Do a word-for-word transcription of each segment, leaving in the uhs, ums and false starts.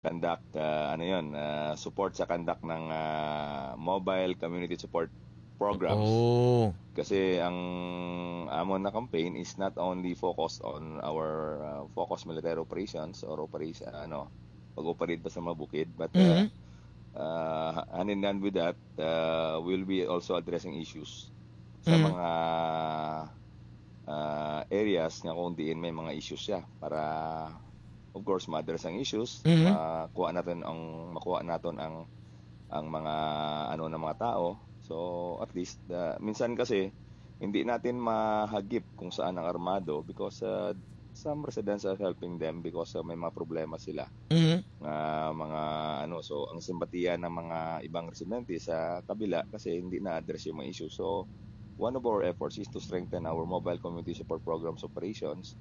conduct, ah, ano yun, ah, support sa conduct ng, ah, mobile community support programs. Oh. Kasi ang amon na campaign is not only focused on our, ah, focus military operations or operation, ano, pag-operate pa sa mga bukid, but, ah, Mhm. ah, hand in hand with that, ah, we'll be also addressing issues sa Mhm. mga, ah, areas nga kung diin may mga issues siya para, of course, ma-address ang issues, Mhm. makuha natin ang, makuha naton ang, ang mga ano ng mga tao. So, at least, ah, minsan kasi hindi natin mahagip kung saan ang armado because, ah, some residents are helping them because, ah, may mga problema sila Mhm. nga mga ano. So, ang simpatiya ng mga ibang residente sa kabila kasi hindi na-address yung mga issue. So, one of our efforts is to strengthen our mobile community support programs operations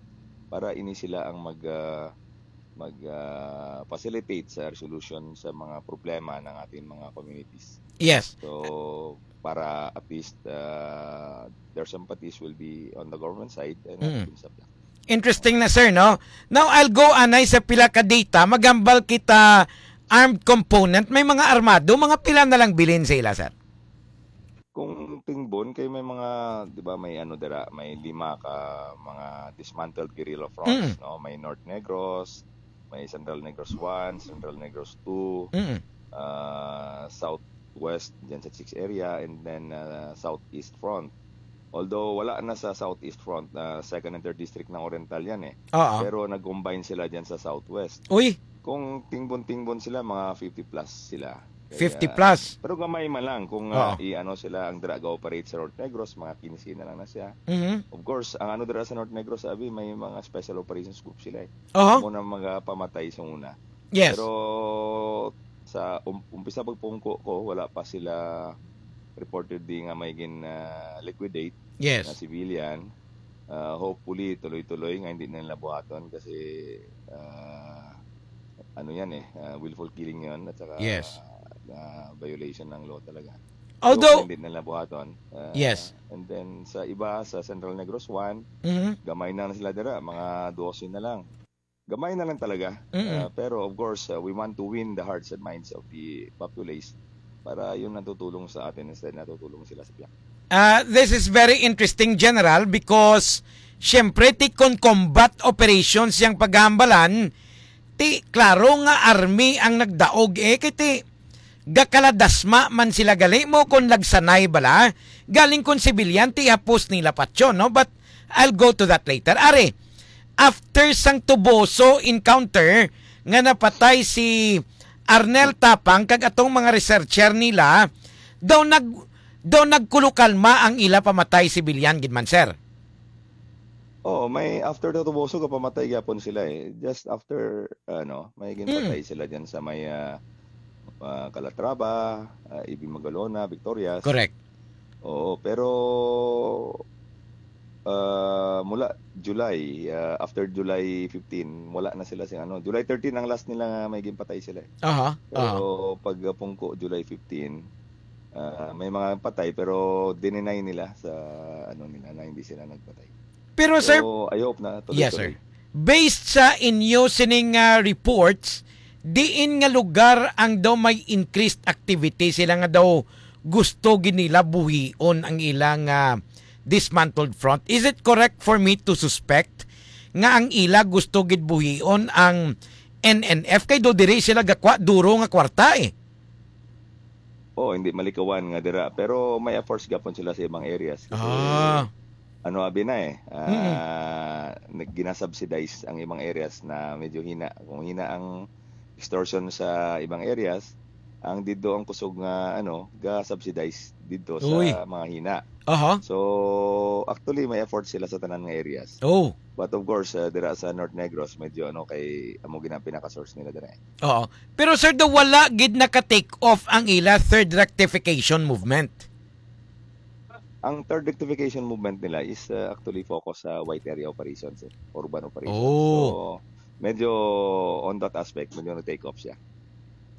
para ini sila ang mag, ah, mag, ah, facilitate sa resolution sa mga problema ng ating mga communities. Yes. So, para at least, ah, their sympathies will be on the government side and not Mm. dun sa black. Interesting na, sir, no? Now, I'll go anay sa pila ka data. Maghambal kita armed component. May mga armado, mga pila na lang bilin sa ila, sir? Kung tingbon, kay may mga, di ba, may ano dira, may lima ka mga dismantled guerrilla fronts, Mm. no? May North Negros, may Central Negros one, Central Negros two, Mm. ah, Southwest, dyan sa Chicks area, and then, ah, Southeast Front. Although wala na sa Southeast Front, ah, second and third district ng Oriental yan eh. Oo. Pero nag-combine sila dyan sa Southwest. Uy! Kung tingbon-tingbon sila, mga fifty plus sila. Kaya, Fifty plus? Pero gamay man lang kung, ah, Oo. i-ano sila, ang dira ga-operate sa North Negros, mga quince na lang na siya. Mhm. Of course, ang ano dira sa North Negros, sabi, may mga special operations group sila eh. Oho. Amo na magapamatay sa una. Yes. Pero sa um-, umpisa pagpungko ko, wala pa sila reportedly nga may gin, ah, liquidate Yes. na civilian. Ah, hopefully, tuloy-tuloy nga hindi na nila buhaton kasi, ah, ano yan eh, ah, willful killing yon at saka, Yes. ah, violation ng law talaga. Although Hope hindi na nila buhaton. Ah, Yes. And then sa iba, sa Central Negros one, Mhm. gamay na lang sila dira, mga dose na lang. Gamay na lang talaga. Mm-mm. Ah, pero of course, ah, we want to win the hearts and minds of the populace para yun natutulong sa atin instead natutulong sila sa black. Ah, this is very interesting, General, because siyempre, ti kon combat operations yang paghambalan, ti klaro nga army ang nagdaog eh, kay ti gakaladasma man sila gali mo kon lagsanay bala, galing kon sibilyan ti hapos nila patyon, no? But I'll go to that later. Are, after sang Tuboso encounter nga napatay si Arnel Tapang kag atong mga researcher nila, daw nag-, daw nagkulukalma ang ila pamatay sibilyan gid man, sir. Oo, may after the Tuboso, gapamatay gyapon sila eh. Just after, ano, may ginpatay Mm. sila dyan sa may, ah, ah, Calatrava, ah, Ibi Magalona, Victorias. Correct. Oo, pero, ah, mula July, ah, after July fifteen, wala na sila sing ano. July thirteen ang last nila nga may ginpatay sila eh. Aha, Pero aha. pag, ah, pungko, July fifteen, ah, may mga patay, pero dininay nila sa ano nila na hindi sila nagpatay. Pero, sir, So, I hope na Yes, sir. tuloy-tuloy. Based sa inyo sining, ah, reports, diin nga lugar ang daw may increased activity sila nga daw gusto gid nila buhion ang ilang, ah, dismantled front? Is it correct for me to suspect nga ang ila gusto gid buhion ang N N F kay do diri sila gakwa duro nga kwarta eh? Oh, hindi malikawan nga dira, pero may efforts gapon sila sa ibang areas kasi Ah. ano abi na eh, Mm. ah, nag-, ginasubsidize ang ibang areas na medyo hina. Kung hina ang extortion sa ibang areas, ang didto ang kusog nga ano, ga-subsidize didto sa Uy. mga hina. Aha. So, actually may effort sila sa tanan nga areas. Oh. But of course, ah, dira sa North Negros, medyo ano kay amo gina pinaka-source nila dira eh. Oo. Pero sir, daw wala gid naka-take off ang ila third rectification movement. Ang third rectification movement nila is, uh, actually focus sa white area operations, eh, urban operations. Oh. So, medyo on that aspect, medyo nag-take off siya.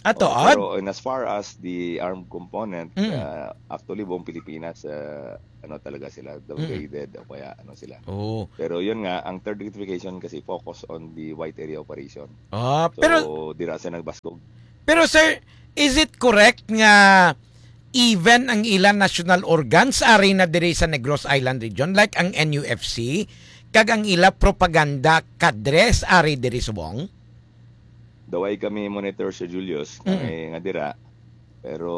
Ato, Oo, ad? Pero in as far as the armed component, Mm. uh, actually, buong Pilipinas, uh, ano talaga sila, Mm. downgraded o kaya ano sila. Oo. Pero yun nga, ang third rectification kasi focus on the white area operation. Ah, So, pero dira sa nagbaskog. Pero, sir, is it correct nga even ang ila national organs ari na diri sa Negros Island region, like ang N U F C, kag ang ila propaganda kadres ari diri subong? The way kami monitor, Sir Julius, Mm. kami nga dira. Pero,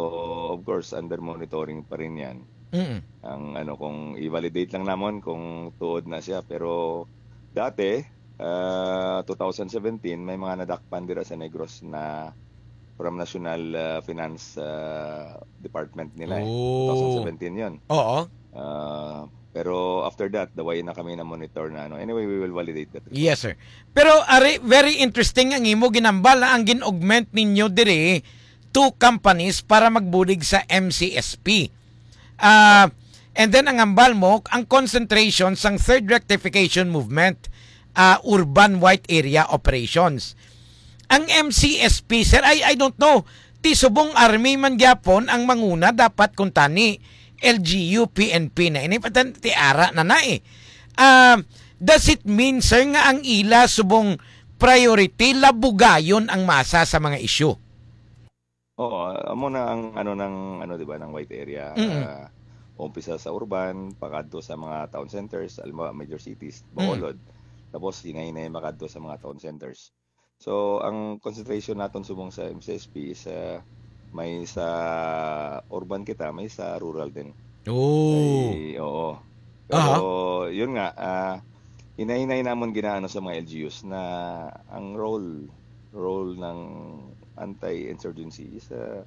of course, under monitoring pa rin yan. Mm. Ang ano, kung i-validate lang namon kung tuod na siya. Pero dati, ah, two thousand seventeen, may mga nadakpan dira sa Negros na from National, ah, Finance, ah, Department nila eh. Oh. Two thousand seventeen yun. Oo. Ah, pero after that, the way na kami na monitor na ano. Anyway, we will validate that report. Yes, sir. Pero ari, very interesting ang imo ginambal, ah, ang gin-augment ninyo diri two companies para magbulig sa M C S P. Ah, and then ang hambal mo, ang concentration sang third rectification movement, ah, urban white area operations. Ang M C S P, sir, I, I don't know. Ti subong army man gyapon ang manguna dapat kuntani L G U, P N P na ini, patan ti ara na na eh. Ah, does it mean, sir, nga ang ila subong priority labugayon ang masa sa mga issue? Oo, amo na ang ano ng ano, di ba, ng white area. Mm. Ah, umpisa sa urban, pakadto sa mga town centers, alam mo, major cities, Mm. Bacolod. Tapos hinay-hinay makadto sa mga town centers. So, ang concentration naton subong sa M C S P is, ah, may sa urban kita, may sa rural din. Oh. May, oo. Aha. Pero, yun nga, ah, hinay-hinay namon ginaano sa mga L G Us na ang role, role ng anti-insurgency is, ah,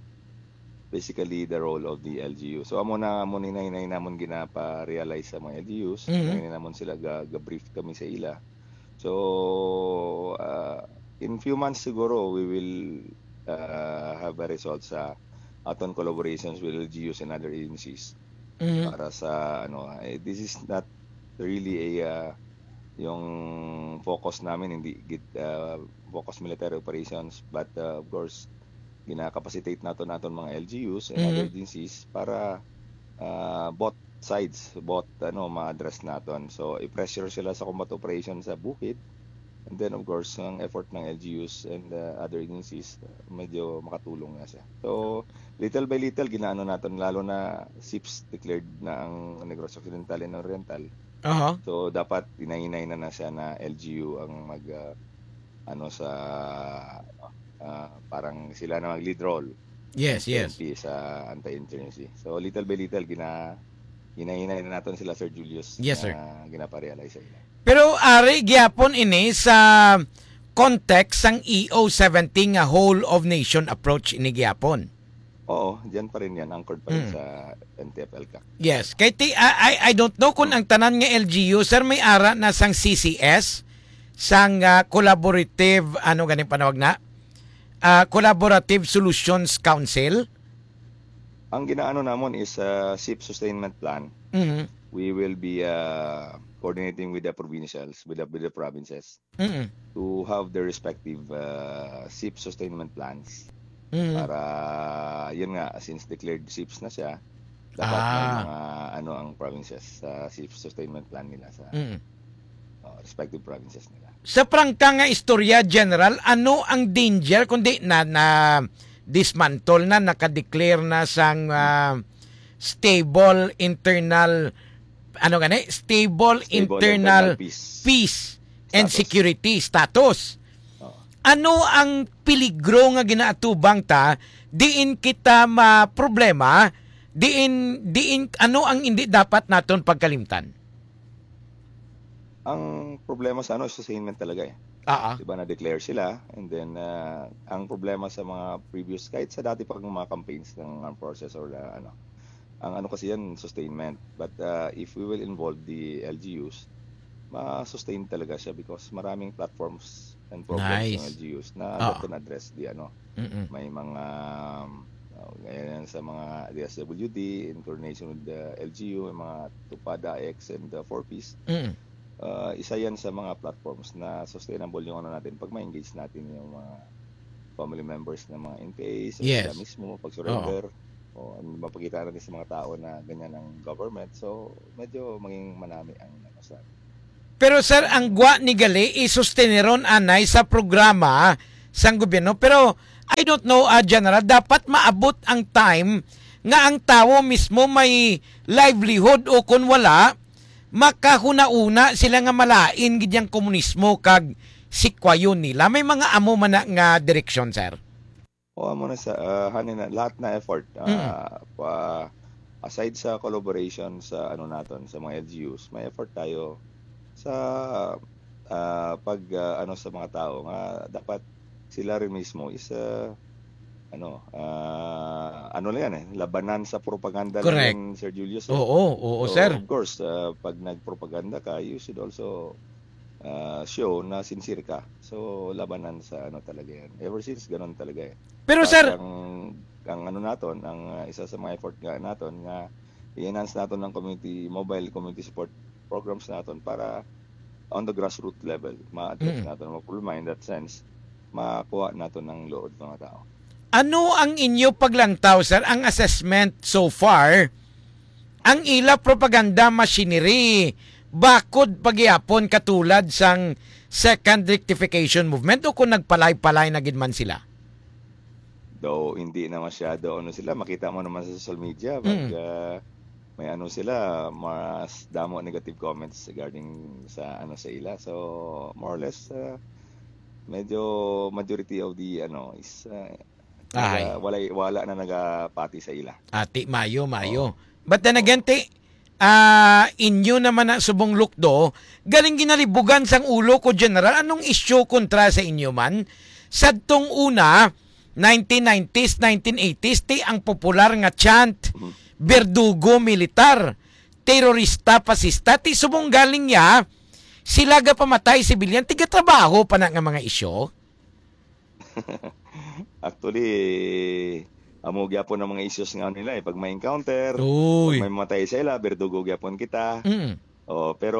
basically the role of the L G U. So, amo na, amo ni hinay-hinay namon ginapa-realize sa mga L G Us. Mhm. Hinay-hinay namon sila ga-, ga-brief kami sa ila. So, ah, in few months siguro, we will, ah, have a result sa aton collaborations with L G Us and other agencies Mhm. para sa, ano, eh, this is not really a, ah, yung focus namin, hindi gid, ah, focus military operations, but, ah, of course, gina-capacitate naton aton mga L G Us and other Mhm. agencies para, ah, both sides, both, ano, ma-address naton. So, i-pressure sila sa combat operation sa bukid. And then, of course, ang effort ng L G Us and, uh, other agencies, uh, medyo makatulong na siya. So, little by little, ginaano naton, lalo na SIPs declared na ang Negros Occidental and Oriental. Aha. So, dapat hinay-hinay na na siya na L G U ang mag, uh, ano, sa, ano, uh, parang sila na mag-lead role. Yes, yes. P N P sa anti-insurgency. So, little by little, gina-, hinay-hinay na naton sila, Sir Julius, Yes, sir. na ginaparealize sa ila. Pero ari gyapon ini sa context sang E O seventy nga whole of nation approach ini gyapon. Oo, diyan pa rin yan. Anchored pa rin Mm. sa N T F-ELCAC. Yes. Kay ti-, I, I, I don't know kung ang tanan nga L G U, sir, may ara na sang C C S, sang, ah, collaborative, ano ganing panawag na? Ah, Collaborative Solutions Council. Ang ginaano namon is, ah, SIP Sustainment Plan. Mhm. We will be, ah, coordinating with the provincials, with the, with the provinces Mm. to have their respective, ah, SIP sustainment plans. Mm. Para, yun nga, since declared SIPs na siya, dapat may Ah. mga, ano, ang provinces sa SIP sustainment plan nila sa Mm. oh, respective provinces nila. Sa prangka nga istorya, General, ano ang danger kundi na, na dismantle na, naka-declare na sang, ah, stable internal, ano gani? Stable Stable internal internal peace. peace and Status. security status. Oo. Ano ang peligro nga ginaatubang ta diin kita ma-problema, diin, diin, ano ang hindi dapat naton pagkalimtan? Ang problema sa ano, sustainment talaga eh. Ah, ah. Diba, na-declare sila, and then, ah, ang problema sa mga previous, kahit sa dati pang mga campaigns ng armed forces or, ah, ano, ang ano kasi yan, sustainment. But, ah, if we will involve the L G Us, ma-sustain talaga siya because maraming platforms and programs Nice. ng L G Us na Ah. that can address the ano, Mm-mm. may mga, um, uh, ganyan sa mga D S W D, in coordination with the L G U, may mga TUPAD, AICS, and the Four Ps. Mm. Uh, isa yan sa mga platforms na sustainable yung ano natin pag ma-engage natin yung mga family members ng mga N P A, sa Yes. sila mismo, pag-surrender. Oo. O, mapakita natin sa mga tao na ganyan ang government. So, medyo maging manami ang, ano, sa Pero, sir, ang gwa ni gali isusteneron anay sa programa sang gobyerno. Pero I don't know, ah, General, dapat maabot ang time nga ang tawo mismo may livelihood, o kon wala, makahunauna sila nga malain gid yang komunismo kag sikwayon nila. May mga amo man na nga direksyon, sir. O, amo na sa, ah, hani na, lahat na effort, Mm. ah, pa, aside sa collaboration sa, ano, naton, sa mga L G Us, may effort tayo sa, ah, pag, ah, ano, sa mga tao nga dapat sila rin mismo is, ah, ano, ah, ano lang yan, eh, labanan sa propaganda lang Correct. yan, Sir Julius, eh. Oo, oo, So, sir. of course, ah, pag nagpropaganda ka, you should also, ah, show na sincere ka. So, labanan sa, ano, talaga yan. Ever since, ganun talaga, eh. Pero, But sir, ang, ang ano naton, ang, ah, isa sa mga effort nga naton nga i-enhance naton ang community, mobile community support programs naton para on the grassroots level, ma-address Mm. naton ang mga problema. In that sense, makuha naton ang load ng mga tao. Ano ang inyo paglangtaw, sir, ang assessment so far? Ang ila propaganda machinery, bakod pagyapon katulad sang Second Rectification Movement, o kung nagpalay-palay na gid man sila? Though hindi na masyado, ano, sila, makita mo naman sa social media, pag, Mm. ah, may, ano, sila, mas damo negative comments regarding sa, ano, sa ila. So, more or less, ah, medyo majority of the, ano, is, ah, Ahay. naga-, walay, wala na nagapati sa ila. Ati, mayo, mayo. Oo. But then Oo. again, ti, ah, inyo naman na subong lukdo, galing ginalibugan sang ulo ko, General. Anong isyu kontra sa inyo man? Sadtong una, nineteen nineties, nineteen eighties, ti ang popular nga chant, Mhm. "Berdugo militar, terorista, pasista," ti subong galing ya, sila gapamatay sibilyan, tigatrabaho pa na nga mga isyu? Actually, amo gyapon ang mga issues nga nila, eh. Pag may encounter, Uy. pag may mamatay sa ila, "Berdugo gyapon kita." Mm. Oh, pero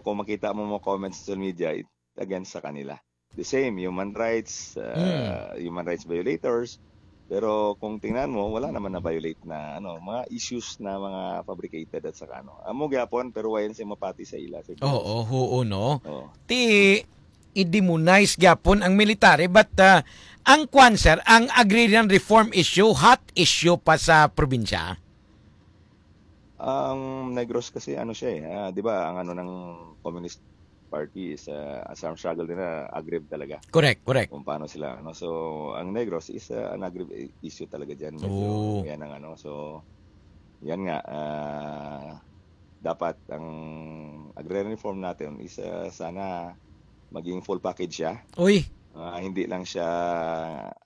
kung makita mo mga comments sa social media, it against sa kanila. The same, human rights, uh, Mm. human rights violators. Pero kung tingnan mo, wala naman na-violate na, ano, mga issues na mga fabricated at saka, ano. Amo gyapon, pero wayan siya mapati sa ila, sa Oo, huo, no? Oo. Ti, i-demonize gyapon ang military, but, uh, ang kwan, sir, ang agrarian reform issue, hot issue pa sa probinsya? Ang Negros kasi, ano siya, eh, ah, di ba, ang ano ng Communist Party is, ah, sa struggle nila, aggrave talaga. Correct, correct. Kung paano sila, ano. So, ang Negros is, ah, an aggrave i-, issue talaga dyan. Medyo Oo. yan ang ano. So, yan nga, ah, dapat ang agrarian reform natin is, ah, sana maging full package siya. Uy. Ah, hindi lang siya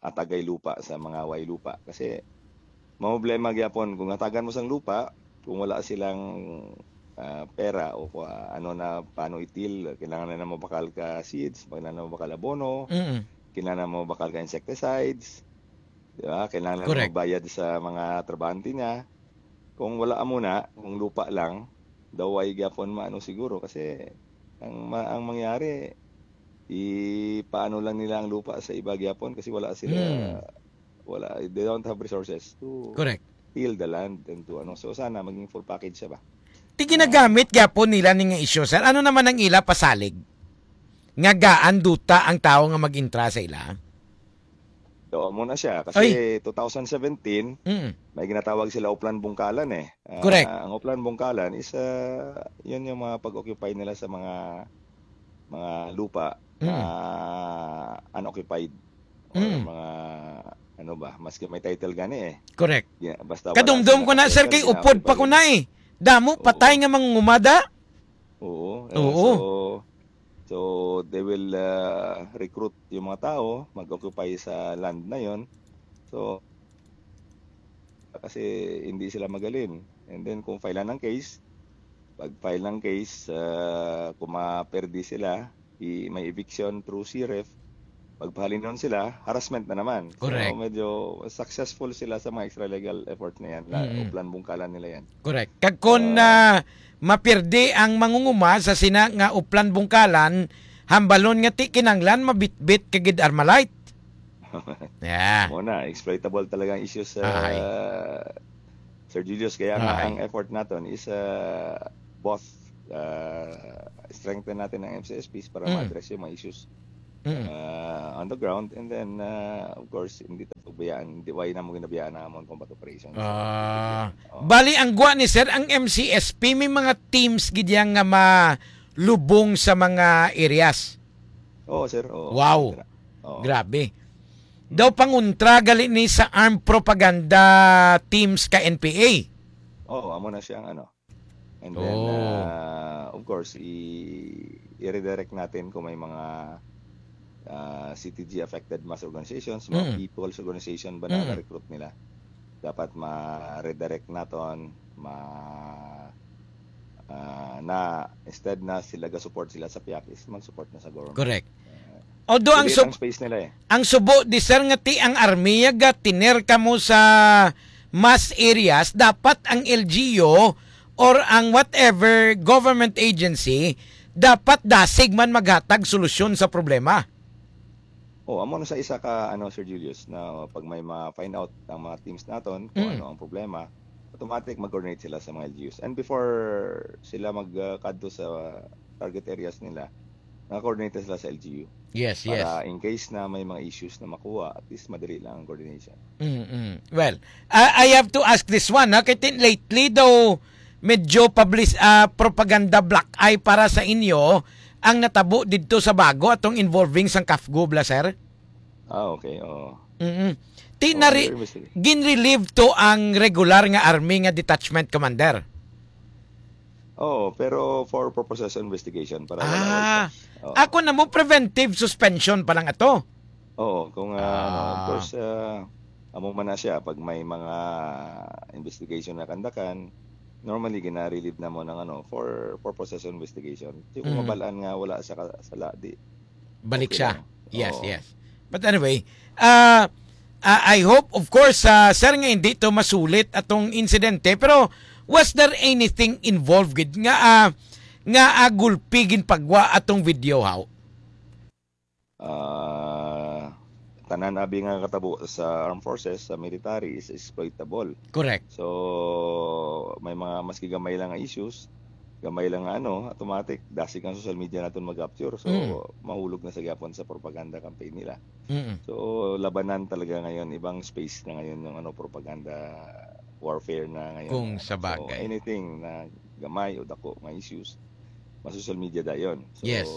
atagay lupa sa mga way lupa. Kasi, mamroblema gyapon kung hatagan mo sang lupa, kung wala silang, ah, pera o kung, ah, ano na, paano itil, kailangan na mabakal ka seeds, kailangan na mabakal abono, Mm. kailangan na mabakal ka insecticides, di ba? Kailangan na Correct. magbayad sa mga trabahante niya. Kung wala amo na, kung lupa lang, daw ay gyapon maano siguro kasi ang ma-, ang mangyari, ipaano lang nila ang lupa sa iba gyapon kasi wala sila, Hmm. wala, they don't have resources to Correct. till the land and to ano. So sana maging full package siya ba? Ti ginagamit gyapon nila ni nga isyu, sir. Ano naman ang ila pasalig? Nga gaan duta ang tawo nga mag-intra sa ila? Daw mo na siya. Kasi Ay. two thousand seventeen, Mm. may ginatawag sila Oplan Bungkalan eh. Ah, Correct. ang Oplan Bungkalan is, ah, yun yung mga pag-occupy nila sa mga, mga lupa na Mm. unoccupied. Or Mm. mga, ano ba, maski may title gani eh. Correct. Yeah, basta wala Kadumdum sila ko na, sir, kay upod pa ko na eh. Damo, patay nga mangungumada. Oo. Eh, Oo. so, so, they will, ah, recruit yung mga tao, mag-occupy sa land na yon. So, kasi hindi sila magaling. And then, kung file ng case, pag file ng case, ah, kung maperde sila, i-, may eviction through C R E F, pag pahalinon sila, harassment na naman. So, Correct. medyo successful sila sa mga extralegal effort na yan. La-, Mm. Oplan Bungkalan nila yan. Correct. Kag kun, Ah. ah, mapirdi ang mangunguma sa sina nga Oplan Bungkalan, hambalon nga ti kinanglan mabitbit ka gid Armalite. Yeah. Mao na, exploitable talaga ang issues, Ahay. uh, Sir Julius. Kaya nga, Ahay. ang effort naton is, uh, both, uh, strengthen natin ang M C S Ps para Mm. ma-address yung mga issues, Mm. uh, on the ground. And then, uh, of course, hindi ta pagbayaan, hindi, why na mo ginabayaan ang amon combat operations. Ah. Oo. Bali, ang gwa ni sir, ang M C S P, may mga teams gid yan nga malubong sa mga areas. Oo, sir. Oo. Wow. Sir. Oo. Grabe. Daw pangontra gali ni sa armed propaganda teams ka N P A. Oo, amo na siya ang ano. And then, Oh. uh, of course, i-, i-redirect natin kung may mga, uh, C T G affected mass organizations, mga Mm. people's organization ba na Mm. na-recruit nila. Dapat ma-redirect naton, ma-, ah, na instead na sila ga-support sila sa piak, is mag-support na sa government. Correct. Ah, Although ang hindi, sub-, ang space nila eh. Ang subo di, sir, nga ti ang army ga tiner kamo sa mass areas, dapat ang L G U or ang whatever government agency, dapat dasig man maghatag solusyon sa problema. Oh, amo na sa isa ka, ano, Sir Julius, na pag may ma-find out ang mga teams naton kung Hmm. ano ang problema, automatic mag-coordinate sila sa mga L G Us. And before sila mag, ah, kadto sa target areas nila, naka-coordinate sila sa L G U. Yes, yes. Para in case na may mga issues na makuha, at least madali lang ang coordination. Mm-mm. Well, I, I have to ask this one, ha? Kay tin-, lately daw, medyo publis-, ah, propaganda black eye para sa inyo ang natabo didto sa Bago atong involving sang CAFGU, bala, sir? Ah, okay, oo. Mm-mm. Ti Oo, nari-, under investigation. Ginrelieve to ang regular nga army nga detachment commander? Oo, pero for purposes of investigation, para wala, wala Ah, pa. Oo. Ako na mo, preventive suspension pa lang ato. Oo, kung, ah, ano, of Ah. course, ah, amo man na siya, pag may mga investigation na kandakan, normally, gina-relieve na mo ng, ano, for purposes of investigation. Di kung Mm. mabalaan nga wala sa ka-, sala, di Balik okay siya. lang. Yes, Oo. yes. But anyway, ah, ah, I hope, of course, ah, sir, nga hindi to masulit atong insidente, pero was there anything involved gid nga, ah, nga, ah, gulpi ginpagwa atong video, how? Ah, tanan abi nga katabo sa armed forces, sa military, is exploitable. Correct. So, may mga maski gamay lang nga issues, gamay lang nga ano, automatic, dasig ang social media naton mag-capture. So, Mm. mahulog na sa gyapon sa propaganda campaign nila. Mm-mm. So, labanan talaga ngayon, ibang space na ngayon yung ano, propaganda warfare na ngayon. Kung sa So, bagay. anything na gamay o dako nga issues, ma-social media dayon. So, Yes.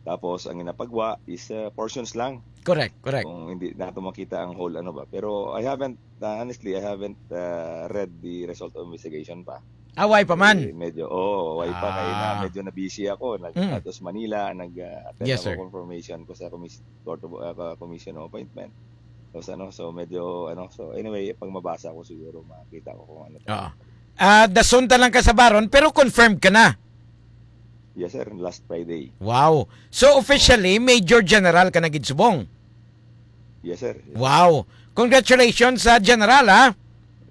tapos ang ginapagwa is, uh, portions lang. Correct, correct. Kung hindi nato makita ang whole ano ba. Pero I haven't, uh, honestly, I haven't, uh, read the result of investigation pa. Ah, why pa man? Eh, medyo, oo, why pa? Kaya na, Ah. medyo na-busy ako. Nag-, Mm. adto sa Manila, nag, uh, attend Yes, ako sir. confirmation ko sa commis-, Court of, uh, Commission of Appointment. Tapos ano, so medyo, ano, so anyway, pag mabasa ko siguro, makita ko kung ano pa. Oo. Ah, dason ta lang ka sa baron, pero confirmed ka na? Yes, sir. Last Friday. Wow. So, officially, Major General ka na gid subong? Yes, sir. Yes. Wow. Congratulations sa General, ha?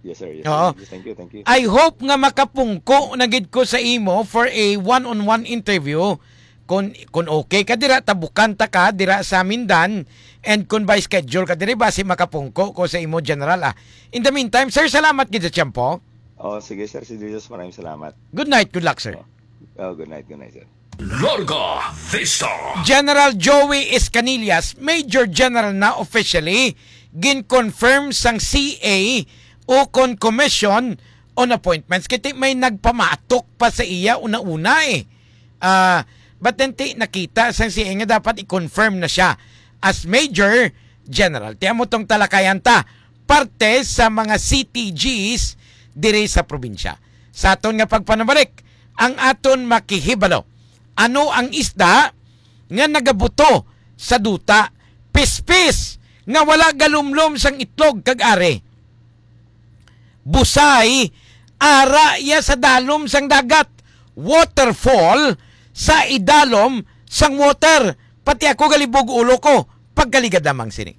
Yes, sir. Yes, Oo. sir. Yes, thank you, thank you. I hope nga makapungko na gid ko sa imo for a one-on-one interview. Kung, kung okay ka dira, tabukan ta ka dira sa Mindan, and kung by schedule ka diri, basi makapungko ko sa imo, General, ah. In the meantime, sir, salamat gid sa tiyempo. Oh, sige, sir. Si Jesus, maraming salamat. Good night, good luck, sir. Oh. Oh, good night, good night, sir. Larga Vista. General Joey Escanillas, Major General na officially, gin-confirm sang C A o kon Commission on Appointments. Kay ti may nagpamatok pa sa iya una-una, eh. Ah, but then ti nakita sang C A nga dapat i-confirm na siya as Major General. Ti amo tong talakayan ta, parte sa mga C T Gs diri sa probinsya. Sa aton nga pagpanumalik, ang aton makihibalo, ano ang isda nga nagabuto sa duta? Pispis nga wala galumlom sang itlog kag ari. Busay, ara iya sa dalom sang dagat. Waterfall, sa idalom sang water. Pati ako galibog ulo ko, pagkaligad lamang sini.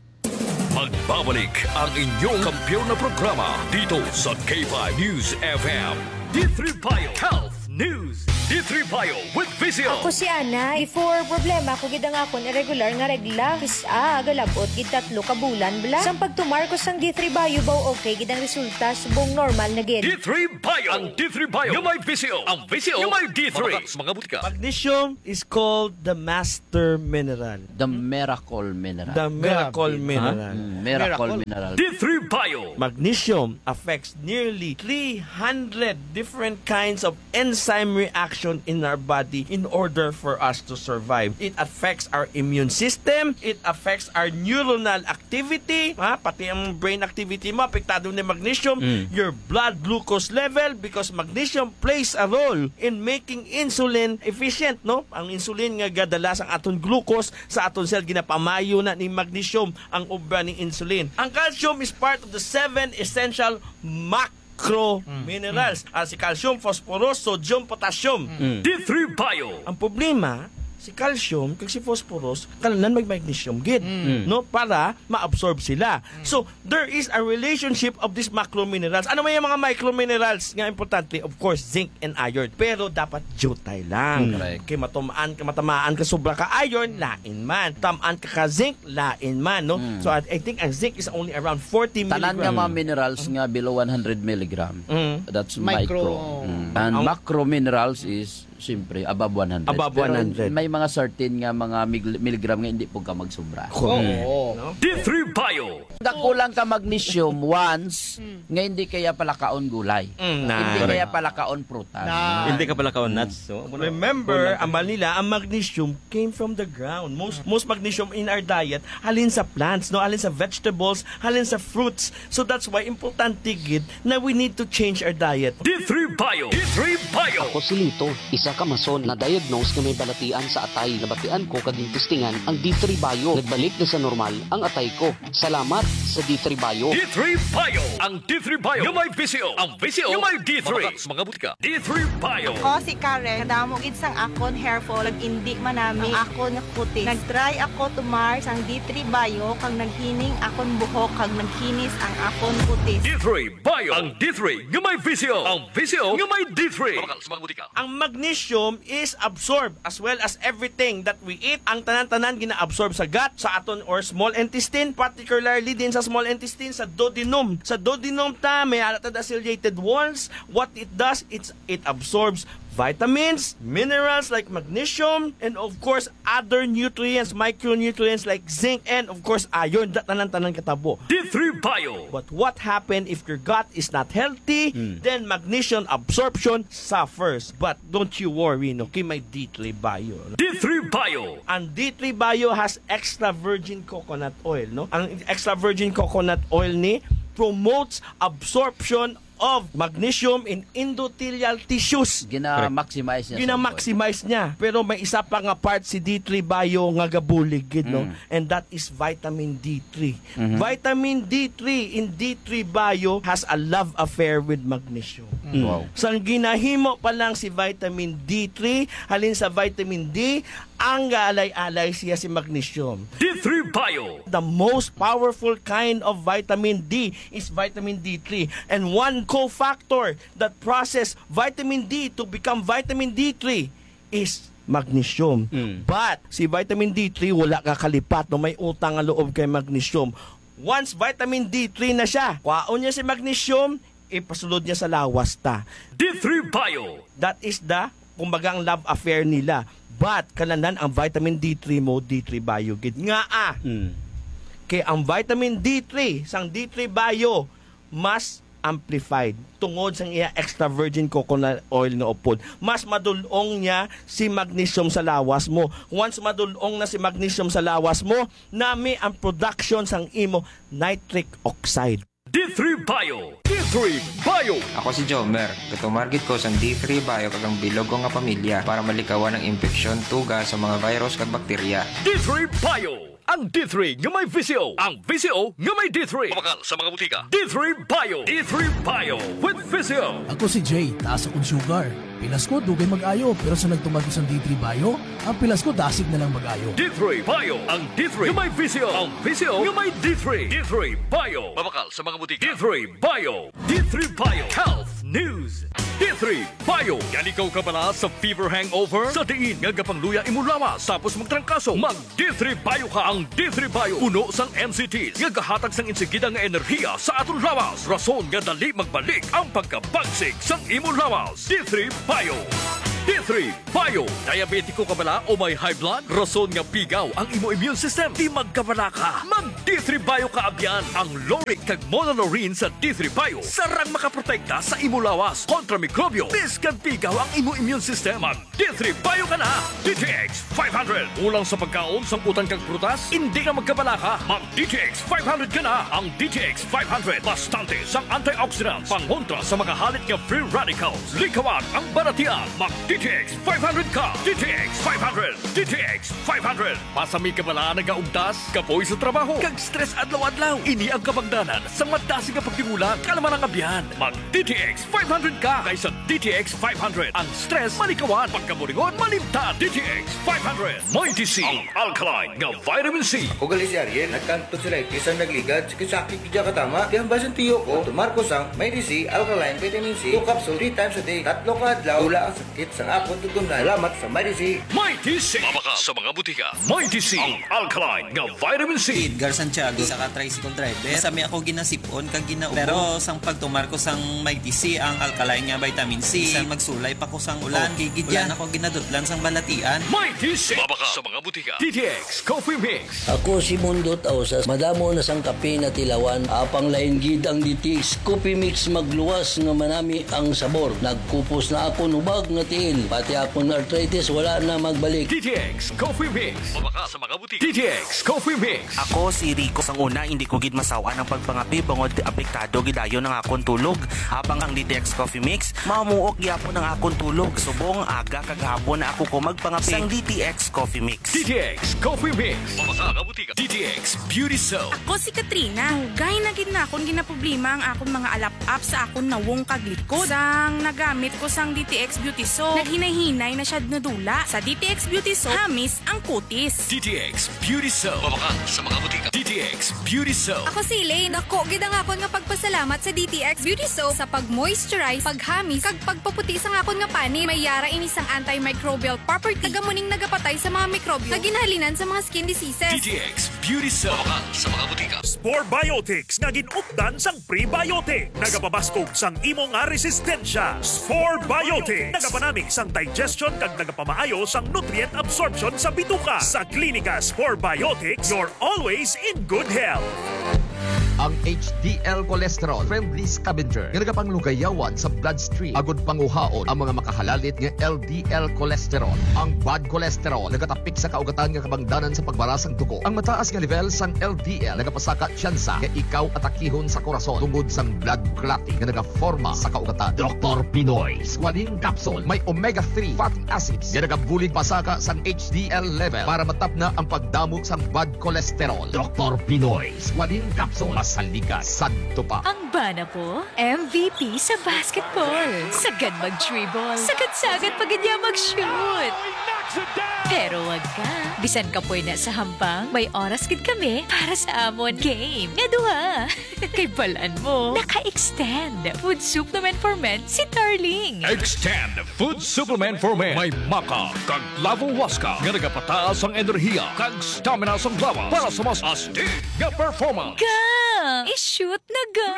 Magbabalik ang inyong kampiyon na programa dito sa K five News F M. D three Bio Health News. D three Bio with Visio. Ako si Ana. Before, problema ko gid ang akon irregular nga regla. Kis-a, galabot gid tatlo ka bulan bala. Sang pagtumar ko sang D three Bio, baw okay gid ang resulta, subong normal na gid. D three Bio. Ang D three Bio nga may Visio. Ang Visio nga may D three. Mabakal sa mga butika. Magnesium is called the master mineral. The miracle mineral. The miracle Grabe, no? mineral. Mm, miracle Miracle. mineral. D three Bio. Magnesium affects nearly three hundred different kinds of enzyme reaction in our body in order for us to survive. It affects our immune system. It affects our neuronal activity. Ha? Pati ang brain activity mo, apektado ni magnesium. Mm. Your blood glucose level, because magnesium plays a role in making insulin efficient, no? Ang insulin nga gadala sang aton glucose sa aton cell, ginapamayo na ni magnesium ang obra ni insulin. Ang calcium is part of the seven essential macro Mm. minerals. Mm. Ah, si calcium, phosphorus, sodium, potassium. Mm. D three Bio. Ang problema, si calcium kag si phosphorus, kailangan may magnesium gid, Mm. no? Para ma-absorb sila. Mm. So, there is a relationship of these macro minerals. Ano may mga micro minerals nga importante? Of course, zinc and iron. Pero dapat jutay lang. Mm. Correct. Kay matamaan ka, matamaan ka sobra ka iron, Mm. lain man. Tamaan ka ka zinc, lain man, no? Mm. So, I, I think ang zinc is only around forty Tanan nga mga milligram. minerals nga below one hundred milligram, Mm. that's Micro. micro. Mm. And Ang macro minerals is, siyempre, above one hundred. Above Pero one hundred. may mga certain nga mga mig-, milligram nga hindi po ka magsubra. Correct. Oo. No? D three Bio. Kakulang ka magnesium once, Mm. nga hindi kaya palakaon gulay. Mm, na. Hindi Correct. kaya palakaon prutas. Na. Hindi ka palakaon Mm. nuts, so, Remember, Kulang ka. ang Manila, ang magnesium came from the ground. Most, most magnesium in our diet, halin sa plants, no? Halin sa vegetables, halin sa fruits. So that's why importante gid na we need to change our diet. D three Bio. D three Bio. Ako si Lito, isa ka mason na diagnose nga may balatian sa atay. Nabatian ko kag testingan ang D three Bio. Nagbalik na sa normal ang atay ko. Salamat sa D three Bio. D three Bio. Ang D three Bio nga may Visio. Ang Visio nga may D three. Mabakal sa mga butika. D three Bio. Ako si Karen. Kadamo gid sang akon hair fall, kag indi manami ang akon nga kutis. Nag-try ako tumar sang D three Bio, kag naghining akon buhok, kag nagkinis ang akon kutis. D three Bio. Ang D three nga may Visio. Ang Visio nga may D three. Mabakal sa mga butika. Ang magnesium is absorbed as well as everything that we eat. Ang tanan-tanan gina-absorb sa gut, sa aton or small intestine, particularly din sa small intestine, sa duodenum. Sa duodenum ta, may ara ta the ciliated walls. What it does, it's, it absorbs vitamins, minerals like magnesium, and of course, other nutrients, micronutrients like zinc, and of course, iron. That tanan-tanan katabo. D three Bio. But what happened if your gut is not healthy? Hmm. Then magnesium absorption suffers. But don't you worry, no? Kay may D three Bio, no? D three Bio. Ang D three Bio has extra virgin coconut oil, no? Ang extra virgin coconut oil ni promotes absorption of magnesium in endothelial tissues. Gina-maximize niya sa Gina-maximize niya. Pero may isa pa nga part si D three Bio nga gabulig gid, no? Mm. And that is vitamin D three. Mhm. Vitamin D three in D three Bio has a love affair with magnesium. Mm. Wow. Sang ginahimo pa lang si vitamin D three, halin sa vitamin D, ang gaalay-alay siya si magnesium. D three Bio. The most powerful kind of vitamin D is vitamin D three. And one cofactor that process vitamin D to become vitamin D three is magnesium. Mm. But si vitamin D three wala kakalipat, no, may utang nga loob kay magnesium. Once vitamin D three na siya, kwaon niya si magnesium, ipasulod niya sa lawas ta. D three Bio. That is the, kumbaga, ang love affair nila. But kalanan ang vitamin D three mo, D three Bio gid. Nga, ah, Mm. kay ang vitamin D three sang D three Bio mas amplified tungod sang iya extra virgin coconut oil nga upod. Mas madul-ong niya si magnesium sa lawas mo. Once madul-ong na si magnesium sa lawas mo, nami ang production sang imo nitric oxide. D three Bio. D three Bio. Ako si Jomer. Gatumar gid ko sang D three Bio kag ang bilog ko nga pamilya para malikawan ang impeksyon, tuga sa mga virus kag bakterya. D three Bio. Ang D three nga may Visio. Ang Visio nga may D three. Mabakal sa mga butika. D three Bio. D three Bio with Visio. Ako si Jay, taas akong sugar. Pilas ko, dugay mag-ayo, pero sa nagtumar ko sang D three Bio, ang pilas ko dasig na lang mag-ayo. D three Bio, ang D three nga may Visio. Ang Visio nga may D three. D three Bio. Mabakal sa mga butika. D three Bio. D three Bio. Health News. D three three Bio. Yan ikaw kabala sa fever hangover? Sa diin nga gapangluya imo lawas tapos magtrangkaso? Mag D three Bio ka. Ang D three Bio puno sang N C Ts nga gahatag sang insigida nga enerhiya sa aton lawas, rason nga dali magbalik ang pagkabagsik sang imo lawas. D three Bio. D three Bio. Diabetiko ka bala o may high blood? Rason nga pigaw ang imo immune system? Di magkabala ka. Mag D three Bio ka abyan. Ang lauric kag monolaurin sa D three Bio sarang makaprotekta sa imo lawas kontra mikrobyo. Bisan pigaw ang imo immune system, mag D three Bio ka na. D T X five hundred. Kulang sa pagkaon, sangkutan kag prutas? Hindi ka magkabala ka. Mag D T X five hundred ka na. Ang D T X five hundred, bastante sang antioxidants, pangontra sa mga halit nga free radicals. Likawan ang balatian. Mag D T X five hundred ka. D T X five hundred. D T X five hundred. Pasami ka bala nagaugtas, kapoy sa trabaho, kag stress adlaw-adlaw? Ini ang kabangdanan sa madasig nga pagdimula, kalman ang abyan. Mag D T X five hundred ka, kay sa D T X five hundred, ang stress malikawan, pagkaburingon malimtan. D T X five hundred. Mighty C, ang alkaline nga vitamin C. Ako gali si Ariel, nagkantod sa lightis ang nagligad, sakit-sakit gid katama. Kaya ang basin tiyo ko, tumar ko sang Mighty C, alkaline vitamin C, two capsule, three times a day, tatlo ka adlaw, wala ang sakit sang akon tutunlan. Salamat sa Mighty C. Mighty C. Mabakal sa mga butika. Mighty C, ang alkaline nga vitamin C. Edgar Santiago, isa ka tricycle driver. Masami ako ginasipon kag ginaubos. Pero sang pagtumar ko sang Mighty C, ang alkaline nga vitamin C, bisan magsulay pa ko sang ulan, okay gid yan. Wala na ko ginadutlan sang balatian. Mighty C. Mabakal sa mga butika. D T X Coffee Mix. Ako si Mundo Tausas. Madamo na sang kape na tilawan. Apang lain gid ang D T X Coffee Mix, magluwas nga manami ang sabor. Nagkupos na akon hubag nga tiil. Pati akon arthritis wala na magbalik. D T X Coffee Mix. Mabakal sa mga butika. D T X Coffee Mix. Ako si Rico. Sang una, hindi ko gid masaw-an ang pagpangape bangod apektado gid dayon ang akon tulog. Apang ang D T X Coffee Mix, mamuok gyapon ang akon tulog. Subong aga kag hapon na ako ko magpangape. Sang D T X Coffee Mix. D T X Coffee Mix. Mabakal sa mga butika. D T X Beauty Soap. Ako si Katrina. Dugay na gid na akon ginaproblema ang akon mga alap-ap sa akon nawong kag likod. Sang nagamit ko sang D T X Beauty Soap, naghinay-hinay na siya nadula. Sa D T X Beauty Soap, hamis ang kutis. D T X Beauty Soap. Mabakal sa mga butika. D T X Beauty Soap. Ako si Elaine. Dako gid ang akon nga pagpasalamat sa D T X Beauty Soap sa pag-moisturize, paghamis, kag pagpaputi sang akon nga panit. May yara ini sang antimicrobial property. Taga mo ning nagapatay sa mga mikrobyo nga ginhalinan sa mga skin diseases. D T X Beauty Soap. Mabakal sa mga butika. Spore Biotics nga gin-updan sang prebiotic. Nagapabaskog sang imo nga resistensya. Spore Biotics. Nagapanami sang digestion kag nagapamaayo sang nutrient absorption sa bituka. Sa Klinika Spore Biotics, you're always in good health. Ang H D L cholesterol, friendly scavenger nga nagapanglugayawan sa bloodstream agud panguhaon ang mga makahalalit nga L D L cholesterol. Ang bad cholesterol nagatapik sa kaugatan nga kabangdanan sa pagbara sang dugo. Ang mataas nga level sang L D L nagapasaka tsansa nga ikaw atakihon sa korason tungod sang blood clotting nga nagaforma sa kaugatan. Doktor Pinoy Squalene Capsule may omega three fatty acids nga nagabulig pasaka sang H D L level para matapna ang pagdamo sang bad cholesterol. Doktor Pinoy Squalene Capsule, masaligas, sadto pa. Ang bana ko, M V P sa basketball. Sagad mag-dribble. Sagad-sagad pa gid niya mag-shoot. Pero wag ka. Bisan kapoy na sa hampang, may oras gid kami para sa amon game nga duha. Kay balan mo, naka-extend Food Supplement for Men si Darling. Extend Food Supplement for Men. May maca kag lavo huasca nga nagapataas ang enerhiya kag stamina sang lawas para sa mas astig nga performance. Ga! I-shoot na ga!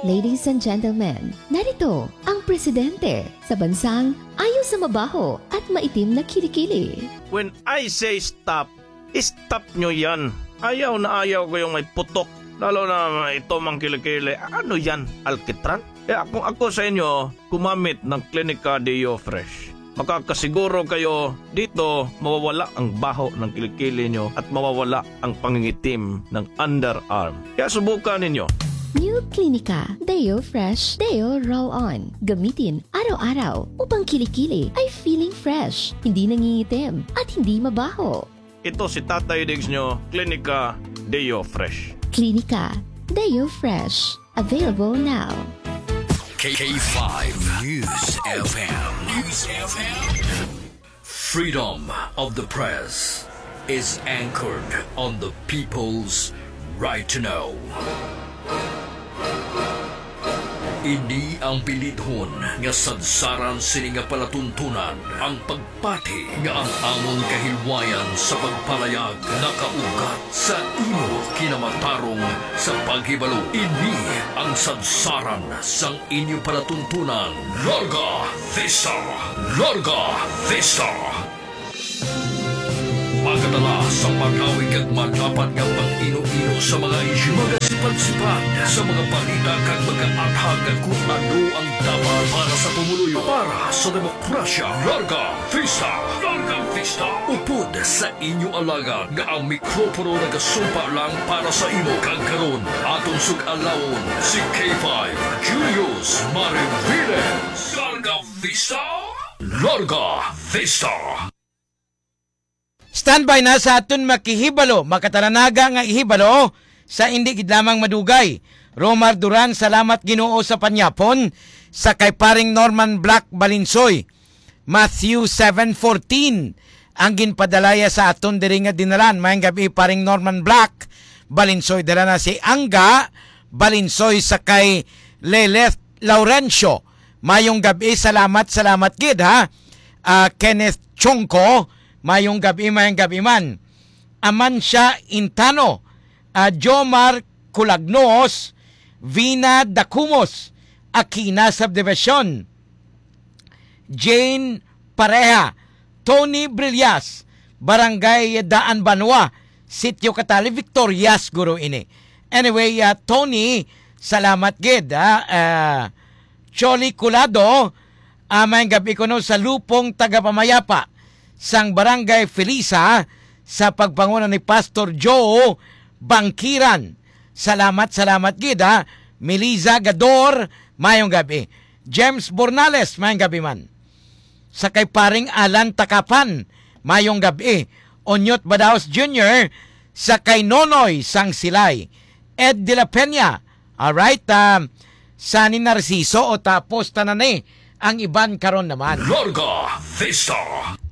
Ladies and gentlemen, narito ang presidente sa bansang ayo sa mabaho at maitim na kilikili. When I say stop, stop nyo yan. Ayaw na ayaw ko yung may putok, lalo na ito mang kilikili. Ano yan, alkitran? Kaya kung ako sa inyo, gumamit ng Clinica Deo Fresh. Makakasiguro kayo dito, mawawala ang baho ng kilikili nyo at mawawala ang pangingitim ng underarm. Kaya subukan ninyo. New Clinica Deo Fresh Deo Roll-On. Gamitin araw-araw upang kilikili ay feeling fresh, hindi nangingitim, at hindi mabaho. Ito si Tatay Diggs nyo, Clinica Deo Fresh. Clinica Deo Fresh. Available now. K five News F M. News F M. Freedom of the press is anchored on the people's right to know. Ini ang bilidhon nga sadsaran sini nga palatuntunan, ang pagpati nga ang amon kahilwayan sa pagpalayag nakaugat sa imo kinamatarong sa paghibalo. Ini ang sadsaran sang inyo palatuntunan. Larga Vista! Larga Vista! Magadala sa makawig kag madapat nga pag-ino-ino sa mga isyu, magasipad-sipad sa mga balita kag magaathag kung ano ang dapat para sa pumuluyo, para sa demokrasya. Larga Vista! Larga Vista! Upod sa inyo alagad nga ang mikropono nagasumpa lang para sa imo, kag karon aton sug-alawon si K five Julius Mariviles. Larga Vista! Larga Vista! Standby na sa aton makihibalo, makatalanaga nga ihibalo sa indi gid lamang madugay. Romar Duran, salamat Ginoo sa panyapon. Sa kay paring Norman Black Balinsoy, Matthew seven fourteen ang ginpadalaya sa aton diri nga dinalan. Mayong gabi, paring Norman Black Balinsoy. Dala na si Angga Balinsoy sa kay Leleth Laurencio. Mayong gabi, salamat, salamat gid, ha. Ah, Kenneth Chongco, mayong gabi, mayong gabi man. Amancia Intano, ah, Jomar Culagnos, Vina Dacumos, Aquina Subdivision, Jane Pareha, Tony Brillas, Barangay Daan Banwa, Sitio Catali, Victorias guro ini. Anyway, ah, Tony, salamat gid, ah, ah, Choli Colado, ah, mayong gabi kuno sa Lupong Tagapamayapa sang Barangay Felisa sa pagpanguna ni Pastor Joe Bangkiran. Salamat, salamat gid, ha. Melisa Gador, mayong gabi. James Bornales, mayong gabi man. Sa kay paring Alan Takapan, mayong gabi. Onyot Badaos Junior, sa kay Nonoy sang Silay. Ed de la Peña, alright, um, sa ni Narciso o tapos tanan ni ang iban karon naman. Larga Vista.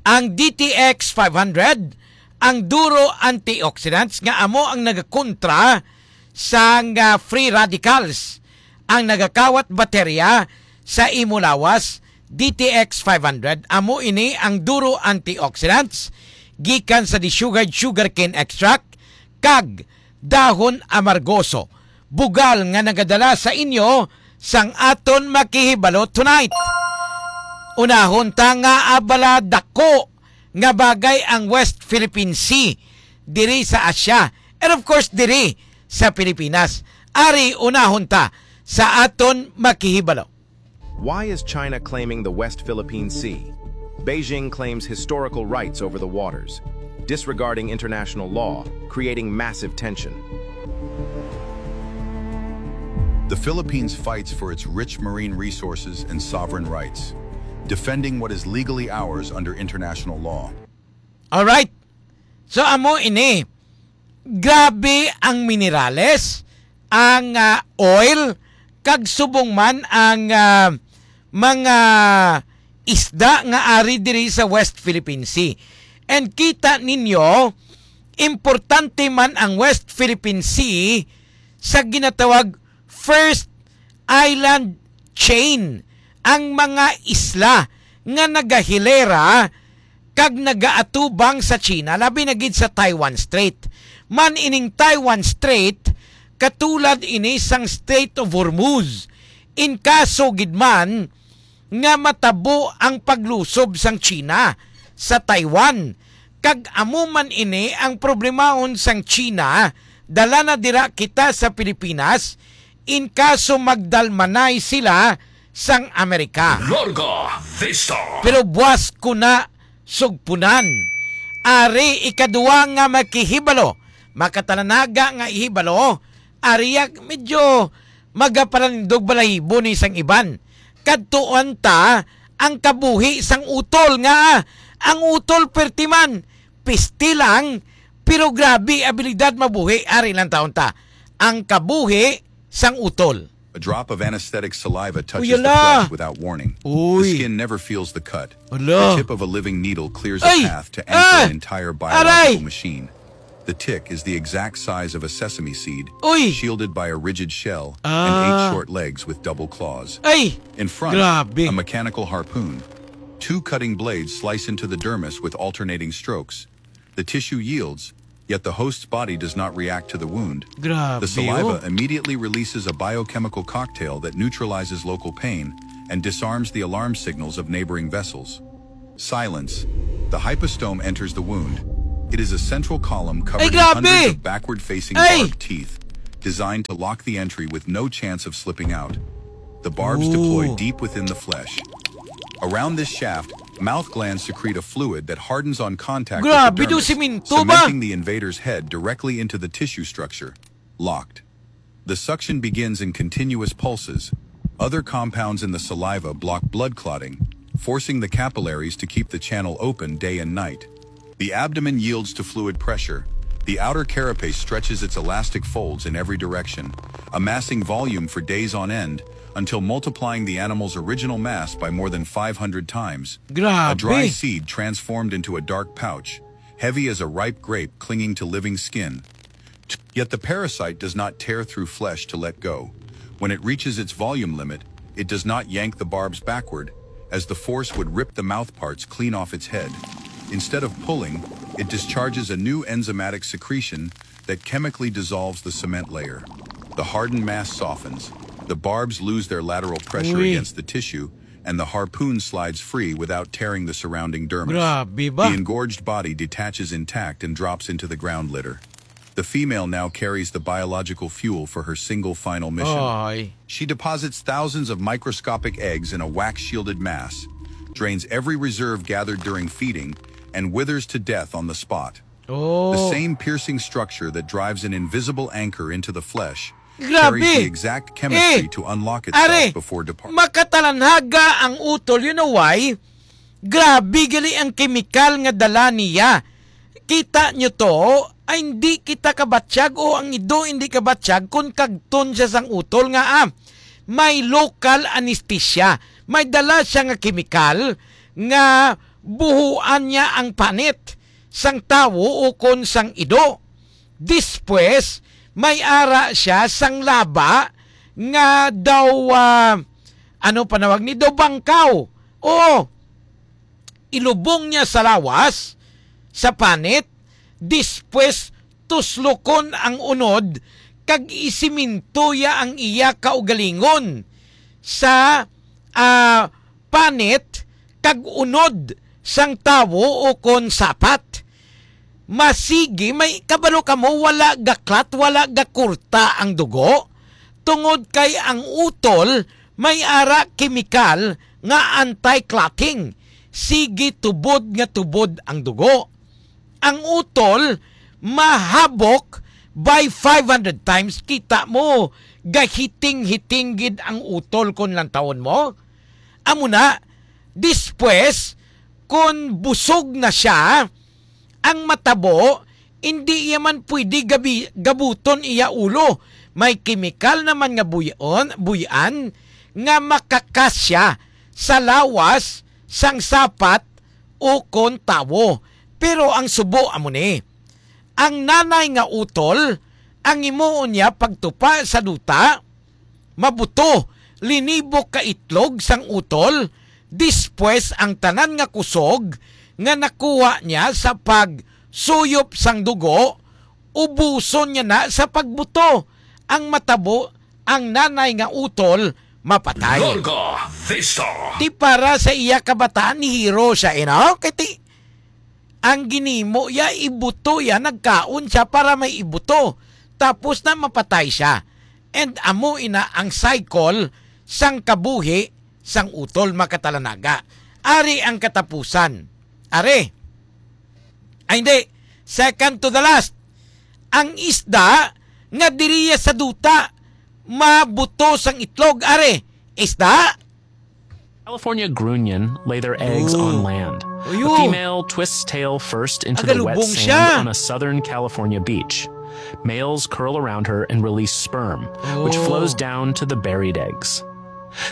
Ang D T X five hundred, ang duro antioxidants nga amo ang nagakontra sang, ah, free radicals, ang nagakawat baterya sa imo lawas. D T X five hundred, amo ini ang duro antioxidants gikan sa desugared sugarcane extract kag dahon amargoso, bugal nga nagadala sa inyo sang aton makihibalo tonight. Unahon ta nga abala dako nga bagay ang West Philippine Sea diri sa Asia, and of course diri sa Pilipinas. Ari, unahon ta sa aton makihibalo. Why is China claiming the West Philippine Sea? Beijing claims historical rights over the waters, disregarding international law, creating massive tension. The Philippines fights for its rich marine resources and sovereign rights, defending what is legally ours under international law. Alright. So, amo ini. Grabe ang minerales, ang, ah, oil, kag subong man ang, ah, mga isda nga ari diri sa West Philippine Sea. And kita ninyo, importante man ang West Philippine Sea sa ginatawag first island chain, ang mga isla nga nagahilera kag nagaatubang sa China, labi na gid sa Taiwan Strait. Man ining Taiwan Strait, katulad ini sang Strait of Hormuz. In kaso gid man nga matabo ang paglusob sang China sa Taiwan, kag amo man ini ang problemahon sang China, dala na dira kita sa Pilipinas, in kaso magdalmanay sila sang Amerika. Larga Vista. Pero buas ko na sugpunan. Ari, ikadua nga makihibalo, makatalanaga nga ihibalo, ari, yak medyo magapalanindog balahibo ni sang iban. Kadtuan ta ang kabuhi sang utol nga ang utol perti man, piste lang, pero grabe abilidad mabuhi. Ari lang taon ta ang kabuhi sang utol. A drop of anesthetic saliva touches Uy, the ala. flesh without warning. Uy. The skin never feels the cut. Ala. The tip of a living needle clears Ay! a path to enter Ah! an entire biological Aray! machine. The tick is the exact size of a sesame seed, Uy! shielded by a rigid shell and eight Ah. short legs with double claws. Ay! In front, Grabe. a mechanical harpoon. Two cutting blades slice into the dermis with alternating strokes. The tissue yields, yet the host's body does not react to the wound. Grabe, The saliva oh. immediately releases a biochemical cocktail that neutralizes local pain and disarms the alarm signals of neighboring vessels. Silence. The hypostome enters the wound. It is a central column covered Ay, in grabe! Hundreds of backward-facing Ay! Barbed teeth designed to lock the entry with no chance of slipping out. The barbs Ooh. Deploy deep within the flesh. Around this shaft, mouth glands secrete a fluid that hardens on contact with Grabe the daw, dermis, simento ba? Cementing the invader's head directly into the tissue structure. Locked. The suction begins in continuous pulses. Other compounds in the saliva block blood clotting, forcing the capillaries to keep the channel open day and night. The abdomen yields to fluid pressure. The outer carapace stretches its elastic folds in every direction, amassing volume for days on end until multiplying the animal's original mass by more than five hundred times. Grabe. A dry seed transformed into a dark pouch, heavy as a ripe grape clinging to living skin. Yet the parasite does not tear through flesh to let go. When it reaches its volume limit, it does not yank the barbs backward, as the force would rip the mouthparts clean off its head. Instead of pulling, it discharges a new enzymatic secretion that chemically dissolves the cement layer. The hardened mass softens, the barbs lose their lateral pressure Uy. Against the tissue, and the harpoon slides free without tearing the surrounding dermis. Grabe ba? The engorged body detaches intact and drops into the ground litter. The female now carries the biological fuel for her single final mission. Ay. She deposits thousands of microscopic eggs in a wax shielded mass, drains every reserve gathered during feeding, and withers to death on the spot. Oh. The same piercing structure that drives an invisible anchor into the flesh Grabe. Carries the exact chemistry Eh, to unlock itself Are, before departing. Makatalanaga ang utol. You know why? Grabe gali ang kemikal nga dala niya. Kita nyo to, ay hindi kita kabatyag o ang ido hindi kabatyag kung kagton siya sang utol nga ah, may local anesthesia. May dala siya nga kemikal nga buhuan niya ang panit sang tawo ukon sang ido. Dispwes, may ara siya sang laba nga daw, ah, ano panawag ni, daw bangkaw. Oo, ilubong niya sa lawas, sa panit, dispwes tuslokon ang unod, kag isiminto ya ang iya kaugalingon sa, ah, panit kag unod sang tawo ukon sapat. Masigi, may kabalo kamo, wala gaklat, wala gakurta ang dugo, tungod kay ang utol may ara kemikal nga anti-clotting. Sige tubod nga tubod ang dugo. Ang utol mahabok by five hundred times. Kita mo, gahiting-hiting gid ang utol kon lantawon mo. Amo na, dispwes, kon busog na siya, ang matabo, hindi iya man pwede gabi, gabuton iya ulo. May kemikal naman nga buyon, buyan nga makakasya sa lawas sang sapat ukon tawo. Pero ang subo amo ni, ang nanay nga utol, ang himuon niya pagtupa sa duta, mabuto, linibok ka itlog sang utol, dispwes ang tanan nga kusog nga nakuha niya sa pagsuyop sang dugo, ubuson niya na sa pagbuto. Ang matabo, ang nanay nga utol mapatay. Larga Vista. Ti para sa iya kabataan ni Hiro siya, you know? Kay ti, ang ginimo ya, ibuto ya, nagkaon siya para may ibuto. Tapos na mapatay siya. And amo ina ang cycle sang kabuhi sang utol, makatalanaga. Ari ang katapusan. Ari. Ay, hindi. Second to the last. Ang isda nga diriya sa duta, mabuto sang itlog. Ari, isda. California grunion lay their eggs Ooh. On land. Ayo. A female twists tail first into the wet Agalubong sand siya. On a southern California beach. Males curl around her and release sperm, which Oh. Flows down to the buried eggs.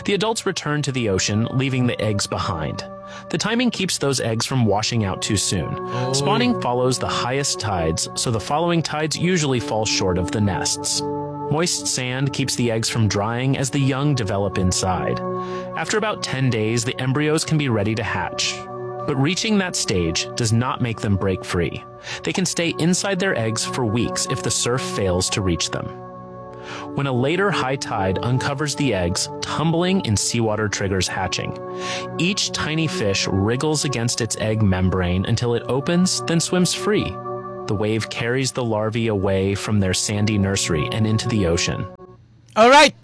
The adults return to the ocean, leaving the eggs behind. The timing keeps those eggs from washing out too soon. Spawning follows the highest tides, so the following tides usually fall short of the nests. Moist sand keeps the eggs from drying as the young develop inside. After about ten days, the embryos can be ready to hatch. But reaching that stage does not make them break free. They can stay inside their eggs for weeks if the surf fails to reach them. When a later high tide uncovers the eggs, tumbling in seawater triggers hatching. Each tiny fish wriggles against its egg membrane until it opens, then swims free. The wave carries the larvae away from their sandy nursery and into the ocean. Alright,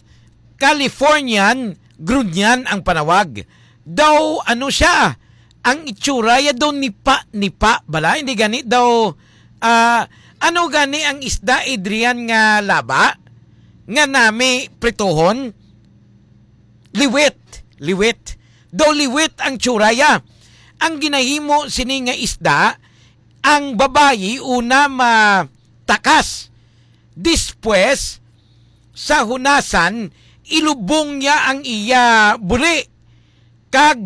Californian grunyan ang panawag. Daw ano siya, ang itsura ya daw nipa-nipa bala, hindi gani daw, ah, ano gani ang isda, Adrian, nga laba nga nami prituhon? Liwit, liwit. Daw liwit ang tsura ya. Ang ginahimo sini nga isda, ang babayi una matakas. Despues, sa hunasan, ilubong niya ang iya buli. Kag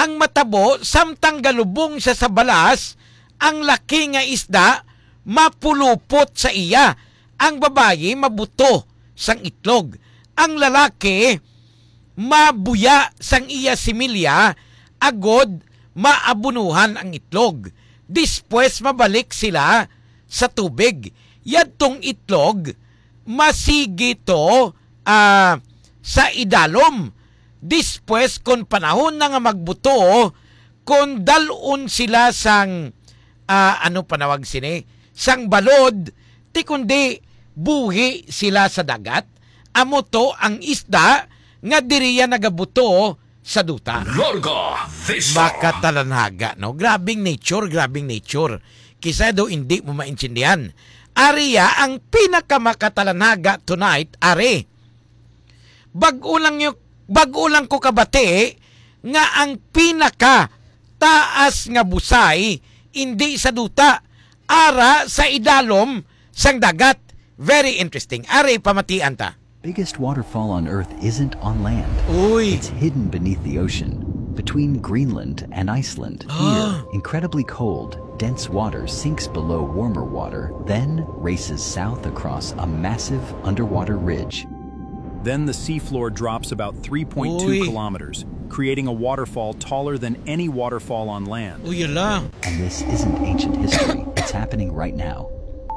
ang matabo, samtang galubong siya sa balas, ang laki nga isda mapulupot sa iya. Ang babayi mabuto sang itlog. Ang lalaki mabuya sang iya similya, agod maabunuhan ang itlog. Despues mabalik sila sa tubig. Yadtong itlog masigi to, ah, sa idalom. Despues, kon panahon na nga magbuto, kon dal-on sila sang, ah, ano panawag sini, sang balod, ti kundi buhi sila sa dagat. Amo to ang isda nga diriya nagabuto sa duta. Larga Vista. Makatalanaga, no? Grabing nature, grabing nature. Kisa daw hindi mo maintindihan. Ari ya ang pinakamakatalanaga tonight, ari. Bag-o lang yu-, bag-o lang ko kabati nga ang pinaka taas nga busay indi sa duta, ara sa idalom sang dagat. Very interesting. Ari, pamatian ta. Biggest waterfall on Earth isn't on land. Uy. It's hidden beneath the ocean, between Greenland and Iceland. Ah. Here, incredibly cold, dense water sinks below warmer water, then races south across a massive underwater ridge. Then the seafloor drops about three point two Uy. Kilometers, creating a waterfall taller than any waterfall on land. Uy, yala. And this isn't ancient history, it's happening right now.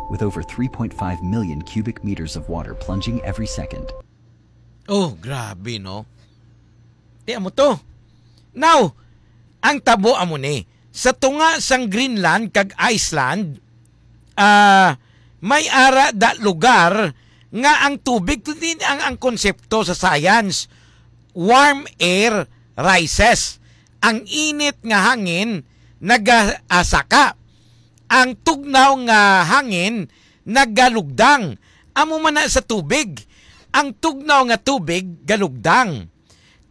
With over three point five million cubic meters of water plunging every second. Oh, grabe, no? Tiyan mo to. Now, ang tabo amo ni, sa tunga sang Greenland kag Iceland, ah, may ara da lugar nga ang tubig, kundi ang, ang konsepto sa science, warm air rises. Ang init nga hangin nagasaka. Ang tugnaw nga hangin nagalugdang. Amo man na sa tubig. Ang tugnaw nga tubig galugdang.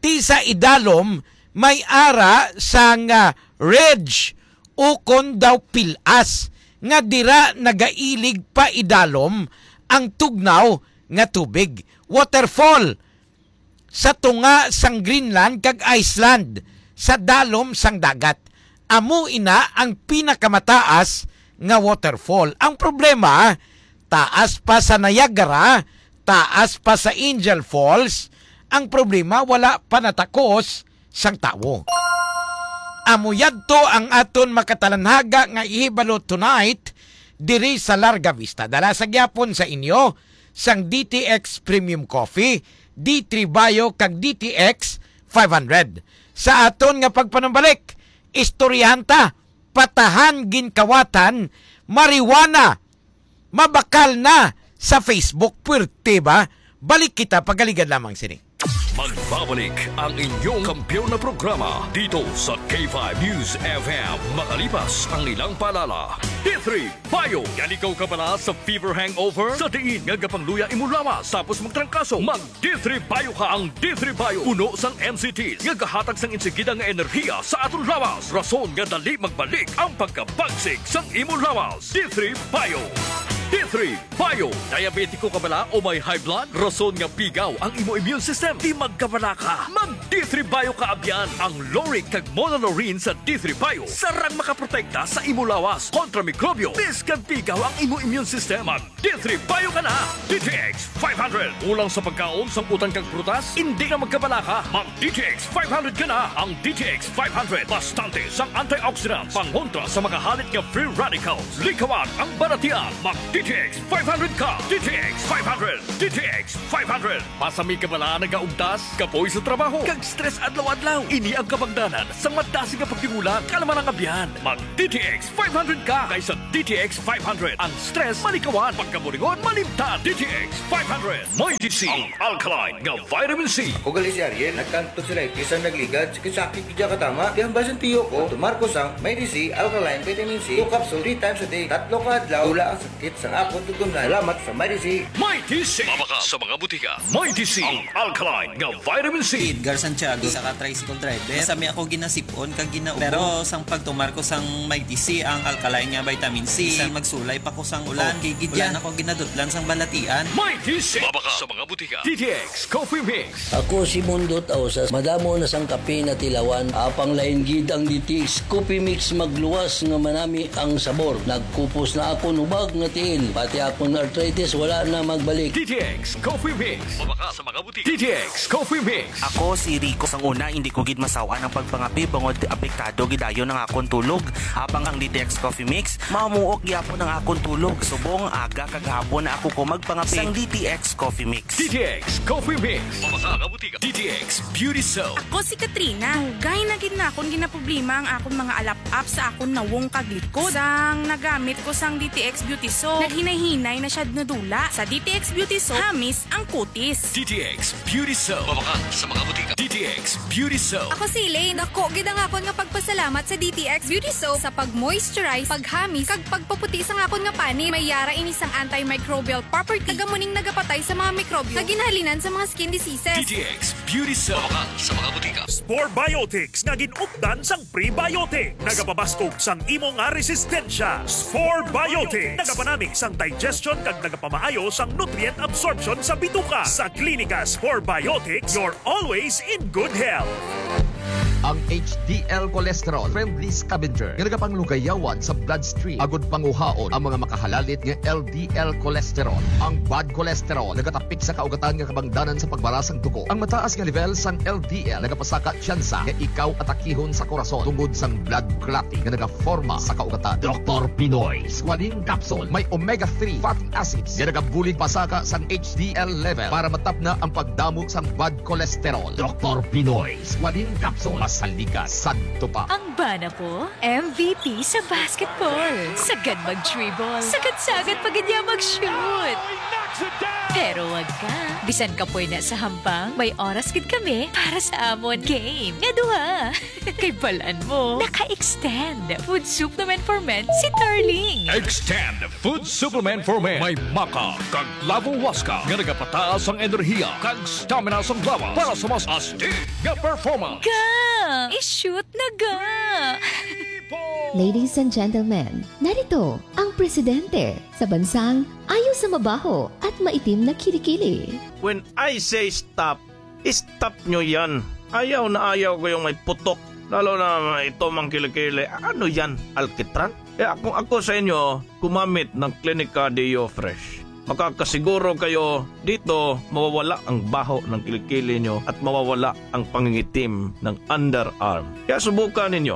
Ti sa idalom may ara sang, ah, ridge, ukon daw pilas, nga dira nagailig pa idalom ang tugnaw nga tubig. Waterfall sa tunga sang Greenland kag Iceland, sa dalom sang dagat. Amo ina ang pinakamataas nga waterfall. Ang problema, taas pa sa Niagara, taas pa sa Angel Falls. Ang problema, wala pa natakos sang tawo. Amo yadto ang aton makatalanhaga nga ihibalo tonight diri sa Larga Vista. Dala sa gyapon sa inyo sang D T X Premium Coffee, D three Bio kag D T X five hundred. Sa aton nga pagpanumbalik, istoryahan ta, patahan ginkawatan, marijuana, mabakal na sa Facebook. Puwerte ba? Balik kita pagaligad lamang sini. Magbabalik ang inyong kampiyon na programa dito sa K five News F M, makalipas ang ilang paalala. D three Bio. Yalikaw ka bala sa fever hangover? Sa diin nga gapangluya imo lawas tapos magtrangkaso? Mag D three Bio ka. Ang D three Bio puno sang M C Ts nga gahatag sang insigida nga enerhiya sa aton lawas, rason nga dali magbalik ang pagkabagsik sang imo lawas. D three Bio. D three Bio. Diabetiko ka bala o may high blood? Rason nga pigaw ang imo immune system. Di magkabala ka. Mag D three Bio ka abyan. Ang lauric kag monolaurin sa D three Bio sarang makaprotekta sa imo lawas kontra mikrobyo. Bisan pigaw ang imo immune system, mag D three Bio ka na. D T X five hundred. Kulang sa pagkaon, sang utan kag prutas? Hindi na magkabala ka. Mag D T X five hundred ka na. Ang D T X five hundred, bastante sang antioxidants, pangontra sa mga halit nga free radicals. Likawan ang balatian. Mag D T X five hundred ka. D T X five hundred. D T X five hundred. Basi may kabala, nagaugtas, kapoy sa trabaho, kag stress adlaw-adlaw. Ini ang kabangdanan sang madasig nga pagtingulang, kalma ang abyan. Mag D T X five hundred ka, kay sa D T X five hundred, ang stress malikawan, pagkaburingon malimtan. D T X five hundred. Mighty C, ang alkaline nga vitamin C. Ako gali si Ariel, nagkanto sila, bisan nagligad, sakit-sakit gid katama. Kaya ang basin tiyo ko, tomar ko sang Mighty C Alkaline Vitamin C, two capsule, three times a day, tatlo ka adlaw, wala ang sakit sang akon tugon na. Salamat sa Mighty C. Mighty C. Mabakal sa mga butika. Mighty C, ang alkaline nga vitamin C. Edgar Santiago, isa ka tricycle driver. Sa mi ako ginasipon kag gina-, pero sang pagtumar ko sang Mighty C, ang alkaline nga vitamin C, bisan magsulay pa ko sang ulan, okay gid yan. Wala na ko ginadutlan sang balatian. Mighty C. Mabakal sa mga butika. D T X Coffee Mix. Ako si Mundot Ausas. Madamo na sang kape natilawan. Apang lain gid ang D T X Coffee Mix, magluwas nga manami ang sabor. Nagkupos na akon hubag nga tiil. Pati akon arthritis wala na magbalik. D T X Coffee Mix. Mabakal sa mga butika. D T X Coffee Mix. Ako si Rico. Sang una, hindi ko gid masaw-an ang pagpangape bangod apektado gid dayon ang akon tulog. Apang ang D T X Coffee Mix, mamuok gyapon ang akon tulog. Subong aga kag hapon na ako ko magpangape. Sang D T X Coffee Mix. D T X Coffee Mix. Mabakal sa mga butika. D T X Beauty Soap. Ako si Katrina. Dugay na gid na akon ginaproblema ang akon mga alap-ap sa akon nawong kag likod. Sang nagamit ko sang D T X Beauty Soap, naghinay-hinay na siya nadula. Sa D T X Beauty Soap, hamis ang kutis. D T X Beauty Soap. Mabakal sa mga butika. D T X Beauty Soap. Ako si Elaine. Dako gid ang akon nga pagpasalamat sa D T X Beauty Soap sa pag-moisturize, paghamis, kag pagpaputi sang akon nga panit. May yara ini sang antimicrobial property, kag amo ning nagapatay sa mga mikrobyo nga ginhalinan sa mga skin diseases. D T X Beauty Soap. Mabakal sa mga butika. Spore Biotics nga gin-updan sang prebiotic. Nagapabaskog sang imo nga resistensya. Spore Biotics. Nagapanami sang digestion kag nagapamaayo sang nutrient absorption sa bituka. Sa Klinika Spore Biotics, you're always in good health. Ang H D L cholesterol, friendly scavenger nga nagapanglugayawan sa bloodstream agud panguhaon ang mga makahalalit nga L D L cholesterol. Ang bad cholesterol nagatapik sa kaugatan nga kabangdanan sa pagbara sang dugo. Ang mataas nga level sang L D L nagapasaka tsansa nga ikaw atakihon sa korason tungod sang blood clotting nga nagaforma sa kaugatan. Doktor Pinoy Squalene Capsule may omega three fatty acids nga nagabulig pasaka sang H D L level para matapna ang pagdamo sang bad cholesterol. Doktor Pinoy Squalene Capsule, masaliga, sadto pa. Ang bana ko, M V P sa basketball. Sagad mag-dribble. Sagad-sagad pa gid niya mag-shoot. Pero wag ka. Bisan kapoy na sa hampang, may oras gid kami para sa amon game nga duha. Kay balan mo, naka-extend Food Supplement for Men si Darling. Extend Food Supplement for Men. May maca kag Lavo Huasca nga nagapataas ang enerhiya kag stamina sang lawas para sa mas astig nga performance. Ga! I-shoot na ga! Ladies and gentlemen, narito ang presidente sa bansang ayo sa mabaho at maitim na kilikili. When I say stop, stop nyo yan. Ayaw na ayaw ko yung may putok. Lalo na ito, mga kilikili. Ano yan? Alkitran? Kaya kung ako sa inyo, gumamit ng Clinica Deo Fresh. Makakasiguro kayo dito mawawala ang baho ng kilikili nyo at mawawala ang pangingitim ng underarm. Kaya subukan ninyo.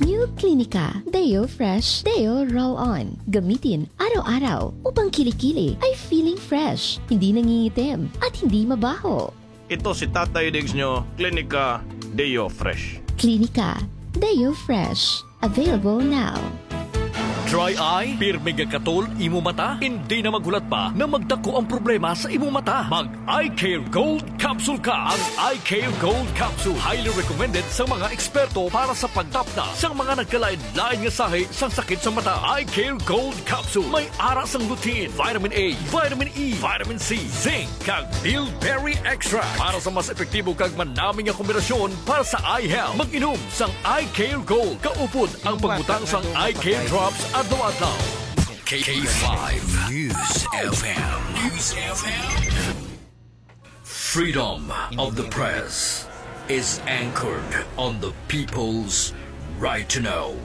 New Clinica Deo Fresh Deo Roll On. Gamitin araw-araw upang kilikili ay feeling fresh, hindi nangingitim, at hindi mabaho. Ito si Tatay Diggs nyo, Clinica Deo Fresh. Clinica Deo Fresh. Available now. Dry eye? Pirmi nga katol imo mata? Hindi na maghulat pa na magdako ang problema sa imo mata. Mag Eye Care Gold Capsule ka. Ang Eye Care Gold Capsule, highly recommended sa mga eksperto para sa pagtapna sa mga nagkalain-lain nga sahi sang sakit sa mata. Eye Care Gold Capsule may ara sang lutein, vitamin A, vitamin E, vitamin C, zinc, kag bilberry extract para sa mas epektibo kag manami nga kombinasyon para sa eye health. Mag-inom sang Eye Care Gold. Kaupod ang pagbutang sang Eye Care Drops adlaw-adlaw. K five News F M. News F M. Freedom of the press is anchored on the people's right to know.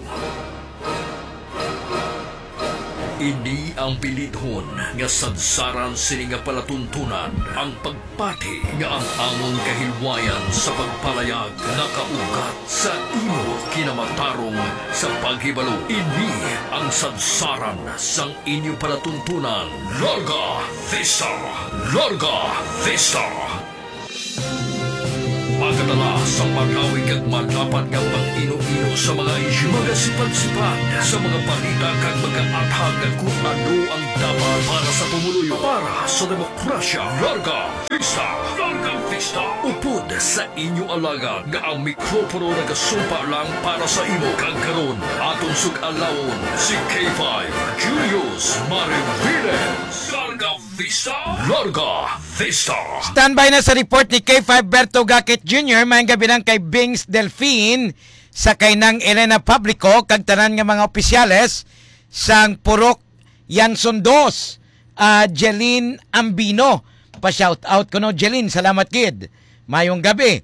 Ini ang bilidhon nga sadsaran sini nga palatuntunan, ang pagpati nga ang amon kahilwayan sa pagpalayag nakaugat sa imo kinamatarong sa paghibalo. Ini ang sadsaran sang inyo palatuntunan. Larga Vista! Larga Vista! Magadala sa malawig kag malapad nga pag-ino-ino sa mga isyu, magasipad-sipad sa mga balita kag magaathag kung ano ang dapat para sa pumuluyo, para sa demokrasya. Larga Vista! Larga Vista! Upod sa inyo alagad nga ang mikropono nagasumpa lang para sa imo, kag karon aton sug-alawon si K five Julius Mariviles. Larga Vista! Larga Vista! Standby na sa report ni K five Berto Gakit Junior. Maayong gabi lang kay Bings Delfin, sa kay Nang Elena Publico, kag tanan nga mga opisyales sang Purok Yanson Dos, ah, Jeline Ambino. Pa-shout out ko, no, Jeline, salamat gid. Mayong gabi.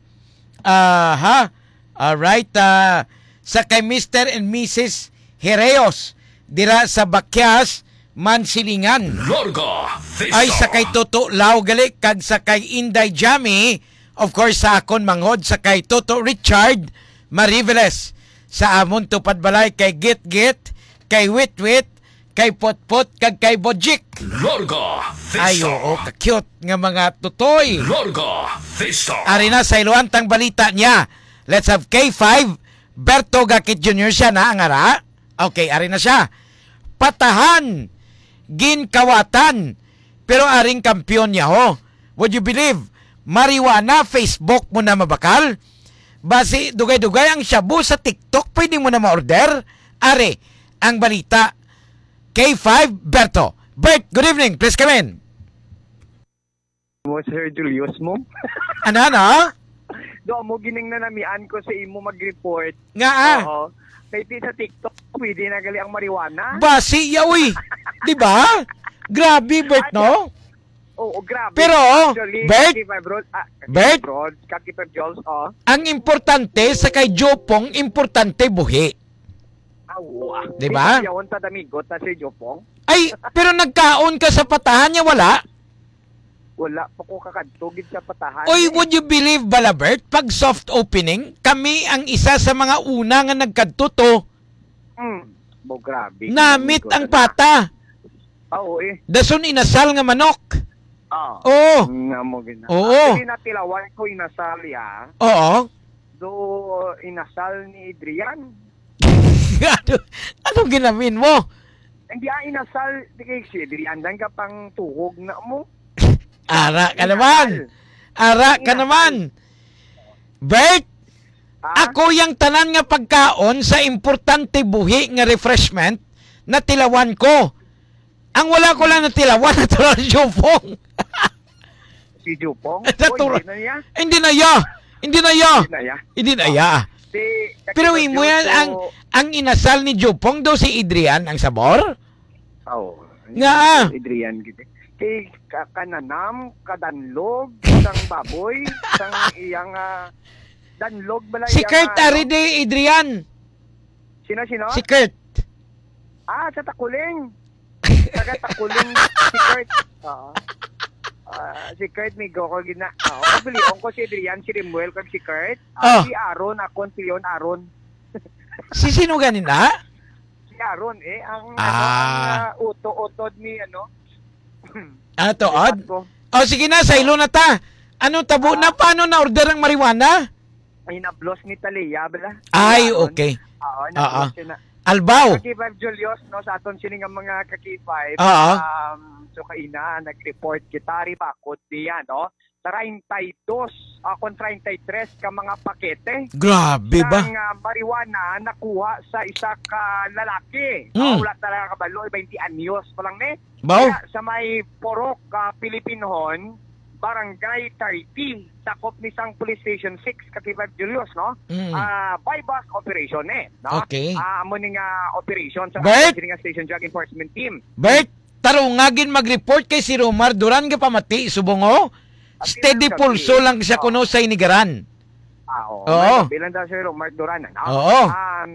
Aha. Alright, ah, sa kay Mister and Missus Hereos dira sa Bakyas, Mansilingan. Larga Vista. Ay, sa kay Toto Lau gali kag sa kay Inday Jami, of course, sa akon manghod, sa kay Toto Richard Mariveles, sa amon tupad balay kay Git-Git, kay Wit-Wit, kay Potpot, kag kay Bojik. Larga Vista. Ay, oo, ka-cute nga mga tutoy. Larga Vista. Ari na, sa iluan tang balita niya. Let's have K five, Berto Gakit Junior siya na, ang ara. Okay, ari na siya. Patahan, ginkawatan, pero aring kampiyon niya, ho. Would you believe? Marijuana, Facebook mo na mabakal. Basi, dugay-dugay ang shabu sa TikTok, pwede mo na ma-order. Ari, ang balita. K five, Berto. Bert, good evening. Please come in. Mo, Sir Julius mo. Ano, ano? Do mo gining nanamian ko sa imo mag-report. Nga, ah. Oo. Kay ti sa TikTok, pwede na gali ang marijuana. Basi, ya, uy. Di ba? Grabe, Bert, Ay, no? Oo, grabe. Pero, Actually, Bert? Kaki Five Road, ah, Kaki Bert? Five Road, Kaki Five Jules, oh. Ang importante sa kay Jopong, importante buhi. Ah, wow. Di ba? Di ba yawon ta damigot na si Jopong? Ay, pero nagkaon ka sa patahan niya, wala? Wala pa ko kakadto gid sa patahan, Oy, eh. Would you believe, Balabert, pag soft opening, kami ang isa sa mga una nga nagkadto to. Mm. Bo, grabe. Namit Grabe ang ko na. Pata. Ah, oo, eh. Dason inasal nga manok. Ah. Oo. Nga mo gina-, Oo. Actually, natilawan ko inasal, ya. Oo. Do inasal ni Adrian. Ano, anong ginamin mo? Hindi, ah, inasal. Di kay si Adrian, dan ka pang tuhog na mo. Ara ka Inasal. naman. Ara ka Inasal. naman. Bert, Ah? ako yang tanan nga pagkaon sa importante buhi nga refreshment, natilawan ko. Ang wala ko lang natilawan, natural Jopong. Si Jopong? Natural. Oh, hindi na niya? Hindi na ya. Hindi na ya. Hindi na ya. Hindi na ya. Ah. Di, Pero kasi imo yan, so ang, ang inasal ni Jopong daw si Adrian ang sabor? Oo. Nga. Si Adrian, gid. Kay ka-, kananam, kadanlog, sang baboy, sang iyang, ah, danlog bala Si iyang, Kurt ah, ano? Aride, Adrian. Sino, sino? Si Kurt. Ah, sa Takuling. Taga Takuling si Kurt. Oo. Ah, si Kurt, migo ko gina. Oo, bilion ko si Adrian, si Rimuel, kag si Kurt. Ah, Oh. si Aaron, akon si Leon Aaron. Si sino ganin na? Si Aaron, eh, ang, ano, Ah. ang, ah, uto-utod ni, ano? Ah, tuod? Lipat ko. Oh, sige na, sa ilo na ta. Ano tabo na? Ah. Paano na order ang marijuana? Ay, nablos ni Talia, bala? Ay, Aaron. Okay. Oo, Oo. nablos siya na. Albaw. Kaki Five Julius, no, sa aton sini nga mga Kaki Five, Oo. um, so kaina, nag-report kita, ri bakod niya, no? Treinta y dos, ah, kon treinta y tres ka mga pakete Grabe ba? sang, ah, marijuana nakuha sa isa ka lalaki. Mm. Ah, wala talaga kabalo, twenty anyos pa lang ni. Baw? Kaya sa may Purok, ah, Pilipinhon, Barangay thirty, sakop ni sang Police Station six, ka K five Julius, no? Mm. Ah, buy-bust operation eh, no? Okay. Ah, amo ni nga operation sa Bert? Sini nga Station Drug Enforcement Team. Bert, tarunga gid mag-report kay si Romar Duran gapamati subong, oh. Pati Steady lang pulso gabi. lang siya Oo. Kuno sa inigaran. Ah, oo. Oo. May bilang daw si Romar Duran, ano? Oo. Um,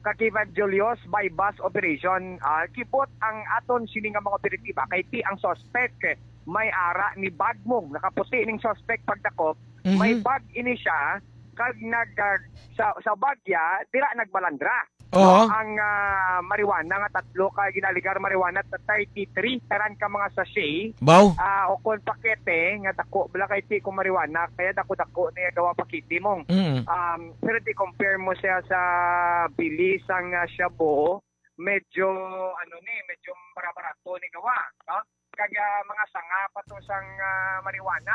ka K five Julius, buy-bust operation, ah, kibot ang aton sini nga mga operatiba kay ti ang suspect eh, may ara ni bag mo, nakaputi ning suspect pagdakop, Mhm. may bag ini siya kag nag ah, sa sa bag ya dira nagbalandra. Oo. Ang ah, marijuana nga tatlo ka ginaligar marijuana ta thirty-three taran ka mga sachet Baw. ah o kon pakete nga dako bala kay ti ko marijuana kaya dako-dako niya gawa pakete mo. Mm. Um, pero di compare mo siya sa bili sang ah, shabu, medyo ano ni, medyo barabarato ni gawa, no? Kag ah, mga sanga pa to sang ah, marijuana.